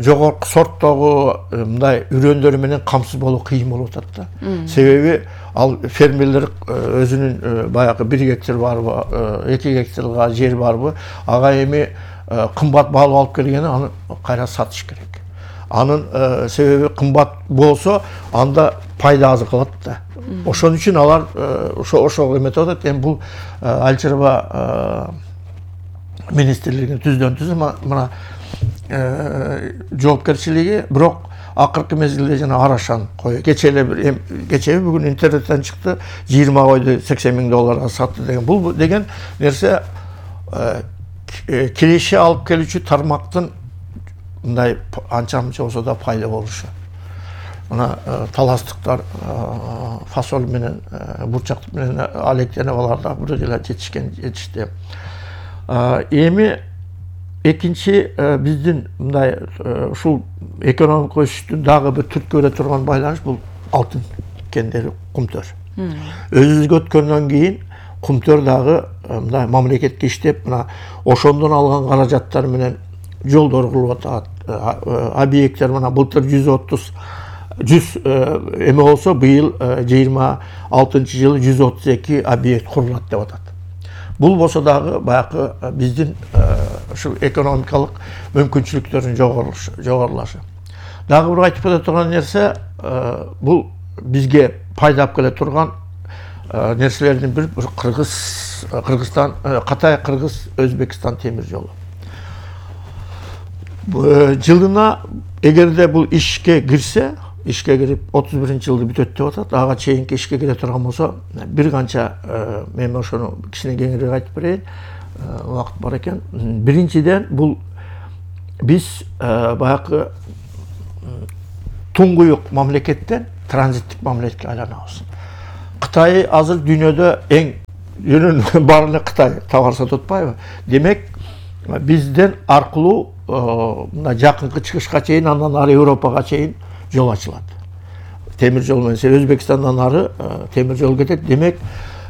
жогорку сорттогу мындай үрөндөр менен камсыз болуу кыйын болуп атат да. Себеби ал фермерлер өзүнүн баягы 1 гектар барбы, 2 гектарга жер барбы, ага эми кымбат баалуу алып келгени аны кайра сатыш керек. Анын себеби кымбат болсо, анда пайда аз калат да. Ошон үчүн алар ошого эметип атат. Эми бул айыл чарба министрлигинин түздөн-түз мына жоопкерчилиги, бирок акыркы мезгилде жана арашан кой. Кече бүгүн интернеттен чыкты, 20 койду $80,000 сатты деген. Бул деген нерсе киреше алып келүүчү тармактын мындай анча-мынча болсо да пайда болушу. Мына таластыктар фасоль менен, бурчак менен алектенип алар да бир деле жетишти. Эми экинчи биздин мындай ушул экономика өсүштүн дагы бир түрткү бере турган байланыш бул алтын кендери, кумтөр. Өзүбүзгө өткөндөн кийин кумтөр дагы мындай мамлекетке иштеп, мына ошондон алган каражаттар менен жолдор курулуп атат. Объекттер мына былтыр 100 эме болсо, быйыл 26-жылы 132 объект курулат деп атат. Бул болсо дагы баягы биздин ушул экономикалык мүмкүнчүлүктөрдүн жогорулашы. Дагы бир айтып кете турган нерсе, бул бизге пайда алып келе турган нерселердин бири Кыргызстан, Кытай, Кыргыз, Өзбекстан темир жолу. Жылына эгерде бул ишке кирсе, ишке кирип 31-жылды бүтөт деп атат, ага чейинки ишке кире турган болсо, бир канча мен ошону кичине кеңирээк айтып берейин, убакыт бар экен. Биринчиден бул биз баягы туңгуюк мамлекеттен транзиттик мамлекетке айланабыз. Кытай азыр дүйнөдө эң баары эле Кытай товар сатып атпайбы? Демек, бизден аркылуу мына жакынкы чыгышка чейин, андан ары Европага чейин жол ачылат. Темир жол менен Өзбекстандан ары темир жол кетет. Демек,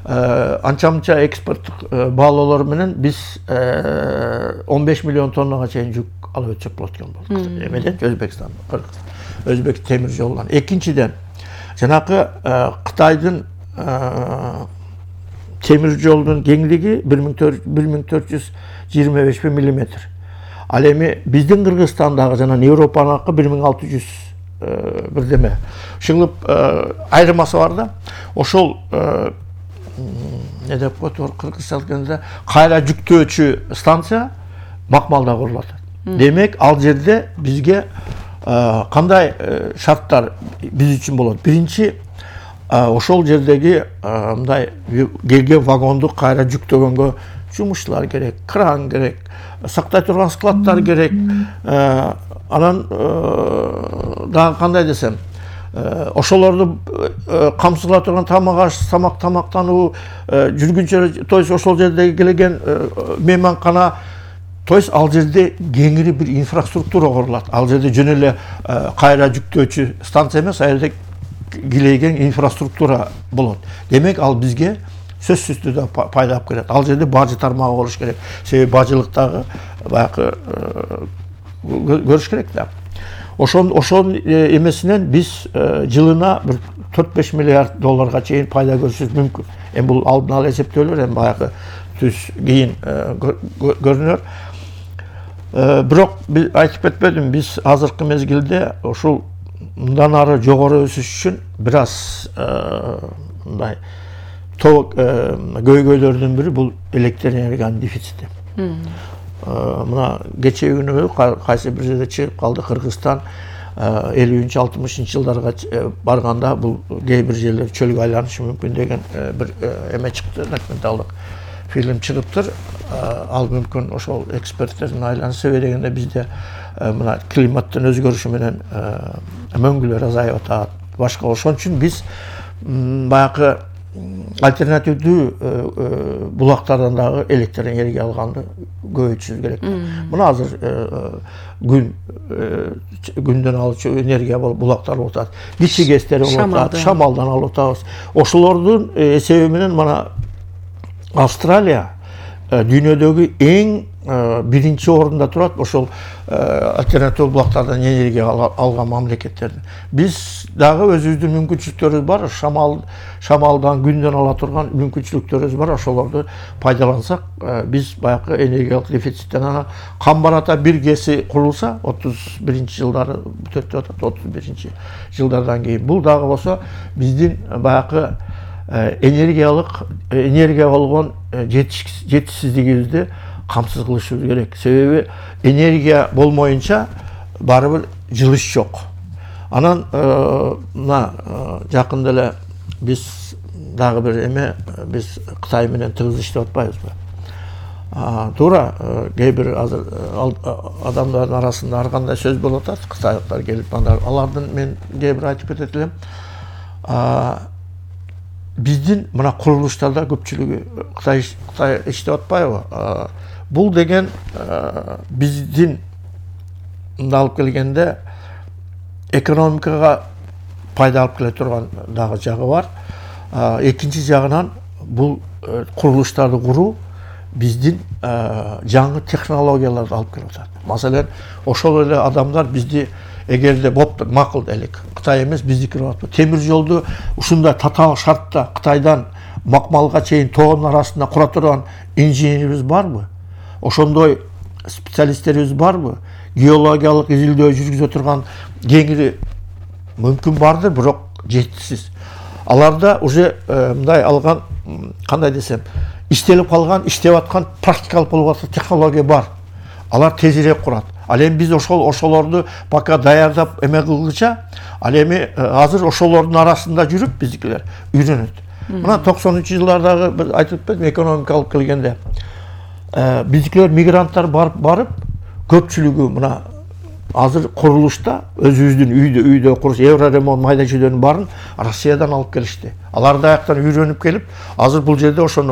анча-мынча экспорттук баалоолор менен биз 15 миллион тоннага чейин жүк алып өтсөк болот экен болот. Эмеден Өзбекстан, Өзбек темир жолунан. Экинчиден, жанакы Кытайдын темир жолунун кеңлиги 1425 миллиметр. Ал эми биздин Кыргызстандагы жана Европаныкы 1600 бирдеме. Ушуңуп айырмасы бар да. Ошол не деп коет кыргызча айтканда кайра жүктөөчү станция Макмалда курулат. Демек, ал жерде бизге кандай шарттар биз үчүн болот? Биринчи, ошол жердеги мындай келген вагонду кайра жүктөгөнгө жумушчулар керек, кран керек, сактай турган складдар керек. Анан дагы кандай десем, ошолорду камсыла турган тамак-аш, тамактануу, жүргүнчө, то есть ошол жердеги келген мейманкана, то есть ал жерде кеңири бир инфраструктура курулат. Ал жерде жөн эле кайра жүктөөчү станция эмес, ал жерде килейген инфраструктура болот. Демек, ал бизге сөзсүз түрдө пайда алып келет. Ал жерде бажы тармагы болуш керек. Себеби бажылыктагы баягы көрүш керек да. Ошол эмесинен биз жылына бир 4-5 миллиард долларга чейин пайда көрүшүбүз мүмкүн. Эми бул алдын ала эсептөөлөр, эми баягы түз кийин көрүнөр. Бирок биз айтып кетпедим, биз азыркы мезгилде ушул мындан ары жогору өсүш үчүн бир аз мындай көйгөйлөрдүн бири бул электр энергиянын дефицити. Мына кечээ күнү кайсы бир жерде чыгып калды, Кыргызстан 50-60 жылдарга барганда бул кээ бир жерлер чөлгө айланышы мүмкүн деген бир эме чыкты, документалдык фильм чыгыптыр. Ал мүмкүн ошол эксперттердин айланысы дегенде бизде мына климаттын өзгөрүшү менен мөңгүлөр азайып атат. Башка ошон үчүн биз баягы альтернативдүү булактардан дагы электр энергия алганды көбөйтүшүбүз керек. Мына азыр күндөн алуучу энергия булактар болуп атат. Кичи гэстер болуп атат, шамалдан алып атабыз. Ошолордун эсеби менен мына Австралия дүйнөдөгү эң биринчи орунда турат ошол альтернатив булактардан энергия алган мамлекеттердин. Биз дагы өзүбүздүн мүмкүнчүлүктөрүбүз бар, шамалдан, күндөн ала турган мүмкүнчүлүктөрүбүз бар. Ошолорду пайдалансак, биз баягы энергиялык дефициттен анан Камбарата бир гэси курулса, 31-жылдары бүтөт деп атат, 31-жылдардан кийин. Бул дагы болсо биздин баягы энергия болгон жетишсиздигибизди камсыз кылышыбыз керек. Себеби энергия болмоюнча баары бир жылыш жок. Анан мына жакында эле биз дагы бир эме, биз Кытай менен тыгыз иштеп атпайбызбы? Туура, кээ бир азыр адамдардын арасында ар кандай сөз болуп атат, кытайлыктар келип, алардын мен кээ бир айтып кетет элем. Биздин мына курулуштарда көпчүлүгү Кытай иштеп атпайбы? Бул деген биздин алып келгенде экономикага пайда алып келе турган дагы жагы бар. Экинчи жагынан бул курулуштарды куруу биздин жаңы технологияларды алып келип атат. Маселен, ошол эле адамдар бизди эгерде болуптур, макул делик, Кытай эмес биздики болот. Темир жолду ушундай татаал шартта Кытайдан макмалга чейин тоонун арасында кура турган инженерибиз барбы? Ошондой специалисттерибиз барбы? Геологиялык изилдөө жүргүзө турган кеңири мүмкүн бардыр, бирок жетишсиз. Аларда уже мындай алган, кандай десем, иштелип калган, иштеп аткан практикалык болуп аткан технология бар. Алар тезирээк курат. Ал эми биз ошолорду пока даярдап эме кылгыча, ал эми азыр ошолордун арасында жүрүп биздикилер үйрөнөт. Мына 90-жылдардагы бир айтып кетем, экономикалык келгенде биздикилер мигранттар барып көпчүлүгү мына азыр курулушта өзүбүздүн үйдө куруш Евроремонт майда чүйдөнүн баарын Россиядан алып келишти. Алар да аяктан үйрөнүп келип, азыр бул жерде ошону